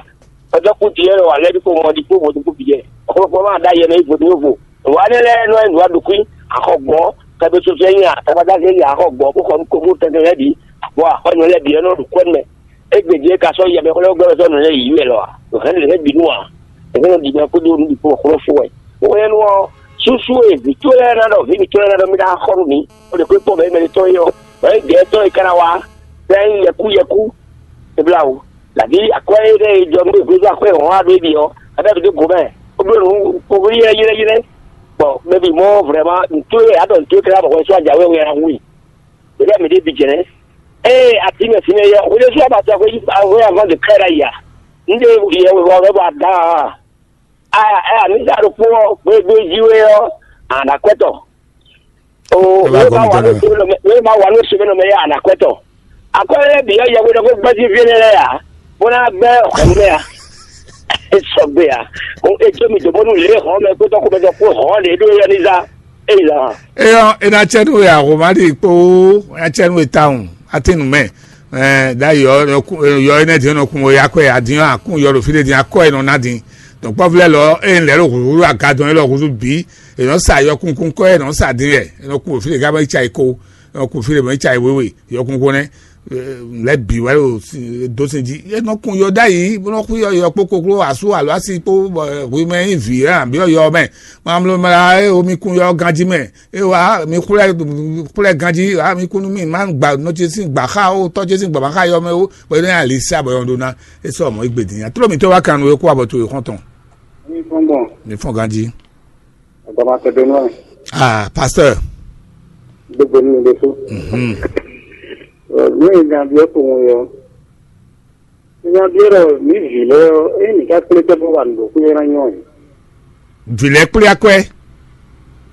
È dɔ́ kú din ɔ́, è wa lɛ́ ɖi kpo mɔ ɖi kpó vodún kú bǐ jɛ. Xlɔ́kpɔ́ ma ɖ'ayɛ mɛ yí vodún vo. Nǔwa énɛ́ lɛ́ɛ nɔ nyí nǔwa ɖo kwí, axɔ gbɔn, kɛɖó sɔ́sɔ́ nyí a, tabadágé nyí axɔ gbɔn, bó xɔ nú ko bó tɛnmɛ lɛ́ɛ bǐ, bɔ axɔ́nɔ lɛ́ɛ bǐ ɔ́ nɔ ɖo kɔ́ mɛ. Égbé din é ka sɔ́ yi amɛ xlɛ́ gbɛ́ sɔ́ nǔ lɛ́ɛ yǐyí wɛ lɔ a? Nǔ hɛn lě hɛn bǐ nu a? È hɛn nɔ ɖi mɛ kpódó nǔ bǐ kpó xlɔ́ fó wɛ. Bó hɛn nú ɔ́, súsú e vǐ towe lɛ́ɛ ná ɖɔ vǐ mǐtɔn lɛ́ɛ ná ɖɔ mí ná xɔ nú mǐ, bó ɖe kpé kpɔ́n mɛ mɛ tɔn é ɔ́, bɔ é gɛ̌ tɔn é ka ná wá, bɛ́ nyí yɛkú yɛkú, é blá wǔ. Lǎví akwɛ́ énɛ́ e jɔ nú é hwezú akwɛ́ hɔn wá ɖó é ɖi ɔ́, a ɖɔ vǐ dó go mɛ, bó bló nǔ kpokpóɖí ylɛ́ ylɛ́ ylɛ́. Bɔ mɛ bǐ mɔ vrɛ́ma nǔ towe a ɖɔ nǔ towe tlá bɔ hwɛ sú ajǎwe wɛ a hu i. Ɖěɖɛ mǐ ɖe bǐ jɛnɛ. Ée atímɛ fínɛ́ yɔ, hwelésú abatɔ hwé hwé avant de kɛ́ ɖ'ayǐ a? Un ɖe yɛ wěwá wɛ bɔ a dǎn a? Aya aya mǐ sa ɖokpó ɔ́, hwegbe jí wé ɔ́, a nǎ kwɛ́ tɔ. O, Ẹ wá nǔ e gɔ́ ma wa nú mǐtɔn lɛ́ɛ. Sɛmɛnɔ mɛ, nǔ e ma wa nú sɛmɛnɔ mɛ yɛ a nǎ kwɛ́ tɔ. Akwɛ́ lɛ́ɛ bǐ ɔ́, yɛhwe ɖɔ xó gbɛ́ fí énɛ́ lɛ́ɛ ǎ, bó ná gbɛ́ hɔ̌nnu mɛ ǎ. É sɔgbe ǎ. Ó, é jó mi dǒ bónú lě e hɔ̌n mɛ kpódó xomɛtɔ́ kpó hɔ̌n ɖě ɖó é ɔ́ ní zán. É yi zán. Eyɔ, e na cɛ nú we ahoma ɖi kpó, e na cɛ nú we tawun, atin nú mɛ. Ɛ, ɖ'ayǐ ɔ́, yɔ énɛ́ din ɔ́ nɔ kun we akwɛ adin ɔ́ akún yɔ ɖo fí ɖé din akɔ e nɔ ná din. Donc kpɔ́vú lɛ́ɛ lɔ, eye un lɛ̌ ɖo hǔhúhú aga dɔn élɔ́ húzú bǐ, è nɔ sa yɔkunkun kɔ́ e nɔ sa din wɛ, è nɔ kun ɖo fí ɖé ká bɔ yi ca yi ko, è nɔ kun fí ɖé bɔ yi ca yi wéwe, yɔkunkun nɛ́. lɛ́ bǐ wɛ ɖo dó sin jí. É nɔ kun yɔ ɖ'ayǐ, bó nɔ xú yɔ yɔ kpó kokló asú alo asi kpó, bɔ hwi mɛ nyí vǐ wɛ àbí yɔ mɛ. Mamlo mla é omi kun yɔ ganjí mɛ. É wa mi xwlɛ xwlɛ ganjí, a mi kú nú mì má gba nɔ ce sín gbǎ xá ó, tɔ́ ce sín gbǎ má xá yɔ mɛ ó, bɔ é nɔ nyi ali sá bɔ yɔ ɖó ná. É sɔ́ mɔ̌ yi gbe din nya. Tló mǐtɔn wá kan nú é kú abɔ towe xɔ́ntɔn. Mi fɔn gbɔn. Mi fɔn ganjí. Agbama tɛ bɛ nɔ. Ah, pasteur. Gbogbo ní mi ɖésú. Mhm. Ní ìgbà bí ó kò wọ́n yọ. Nya ɖíe ɖɔ mǐ vǐ lɛ́ɛ ɔ́, ényí mǐ ka kplé tɛ́ bó wa nǔ ɖo xwé ɔ́ ná nyɔ́ ɛ. Vǐ lɛ́ɛ kplé akwɛ́.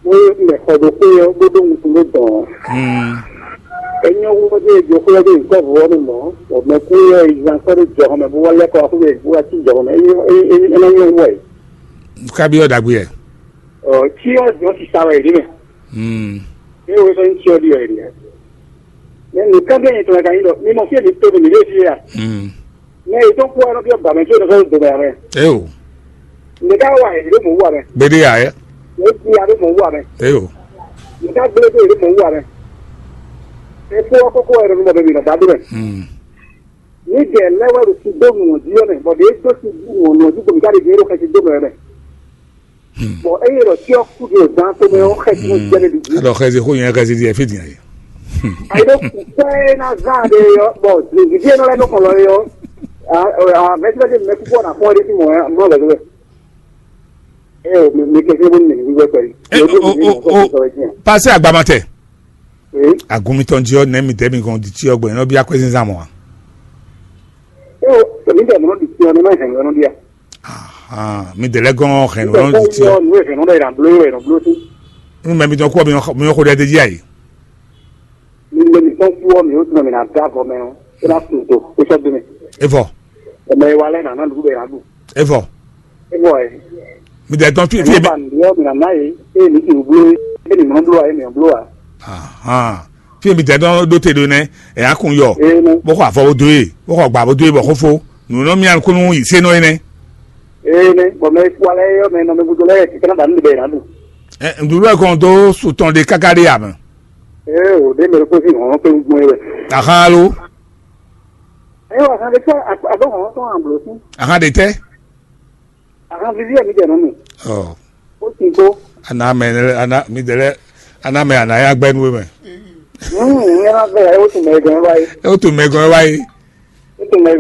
Bó mɛ xɔ ɖo xwé ɔ́, bó ɖó wuntun ɖó dɔn ɔ́. Hmm. É nyɔ́ wú ɔ́, ɖo xwé ɔ́ ɖo nyǐkɔ vɔ ɔ́ nu mɔ̌, bɔ mɛ kú ɔ́ yi zán sɔ́ ɖó jɔhɔn mɛ bó wá lɛ́ kɔ wá xwé bó wá cí jɔhɔn mɛ. É nyɔ́ é é é ná nyɔ́ wú wɛ. Kabyɔ ɖagbe yɛ. Ɔ, cyɔ jɔ sisa wɛ yě ɖe mɛ. Hmm. Eye wo sɔ́ nyí cyɔ ɖi wɛ yě ɖe. Mɛ nǔ ká bɛ́ nyɛ tɔn ka nyí ɖɔ mi mɔ fí e mi to ɖo mǐ ɖe fí a? Hmm. Mɛ yě tɔn kú wɛ nɔ byɔ́ gbǎmɛ có nɔ sɔ́ dǒ mɛ ǎ mɛ. Eo. Nǔ ká wa yě ɖo mɔ̌ wú ǎ mɛ. Gbéɖé ǎ é. Yě ti ya ɖo mɔ̌ wú ǎ mɛ. Eo. Nǔ ká gblé dó yě ɖo mɔ̌ wú ǎ mɛ. Ẹ kó ɔ́ kókó wɛ nɔ nɔ bɛ mi nɔ dá ɖó mɛ. Hmm. Ní jɛ lɛ́ wɛ ɖo sin dó nǔ ɔ́ jí ɔ́ mɛ, bɔ ɖě dó sin dó nǔ ɔ́ jí bɔ mǐ ká ɖe ɖě ɖo xɛsi dó mɛ wɛ mɛ. Bɔn eye ɖɔ tí ɔ́ kú ɖo zan tomɛ ɔ́ xɛ tí mo jɛ ɖe ɖi. Alɔ xɛsi xó yẹn xɛsi di ɛfí diẹ. Ayi ɖo kúkú ɛ ná zan ɖe yɔ bɔn zizidi ɛ nɔ lɛ nɔ kɔlɔ yɔ. Mɛsibɛsɛ mɛ kúkú ɔ́ nà fɔn ɖe sí mɔ mɔ lɛ lɛ. Ɛ o mi kɛsɛ bó mi wíwɛ pɛlú. Ɛ o o o pase agbamatɛ. Agunmitɔn jí ɔ nɛ mi dɛ mi gɔn di tí ɔ gbɛ nɔ bí akwɛ zinzan mɔ a. Ɛ o mi dɛ mɔ di tí ɔ nɛ ma hɛn lɔ nɔ bia. Ahan, mi dɛ lɛ gɔn hɛn lɔ di tí ɔ. Nu e hɛn nɔ ɖe yɛrɛ blo yɛrɛ blo sí. Nu mɛ mi dɔn kú mi yɔ xo ɖe de jí ayi. Mi le mi tɔn kú ɔ mi o tún mi na da gɔ mɛ o. E na kun to o sɔ dun mi. Evɔ. Ɛmɛ wa lɛ na na dugu bɛ na du. Evɔ. Evɔ ɛ. Mi dɛ tɔn fi fi. Ɛmɛ ba mi yɔ mi na na ye. E mi ti blo e mi mɔ blo wa e mi blo wa. Ahan. Fi mi dɛ dɔn ɖó te ɖó nɛ, ɛ akun yɔ. Ee nɛ. Bó xɔ avɔ bó dó e, bó xɔ gbà bó dó e bɔ xó fó. Nǔ nɔ mia nukúnnú yi sé nɔ é nɛ. Ee nɛ, bɔ mɛ kú alɛ yɔ mɛ nɔ mɛ gúdo lɛ ti kɛnɛ ba nu bɛ yɛ nadu. Ɛ ŋdúrú ɛ kɔn dó su tɔn ɖe káká ɖe ame. Ee o ɖe mɛ kó sí hɔn pé gbɔn yɛ. Ahan alo. Ɛ wà kan ɖe tɛ àbọ̀ hɔn tɔn àbúrò sí. Ahan ɖe tɛ. Ahan vivi ɛ mi jɛ nɔ mi. Ɔ. Ó ti kó. Ana mɛ ana mi dɛ lɛ ana mɛ ana ya gbɛ nu mɛ. Nínú ìyẹn máa bẹ̀rẹ̀ ó tún mẹ́gàn wáyé. Ó tún mẹ́gàn wáyé. Ó tún mẹ́gàn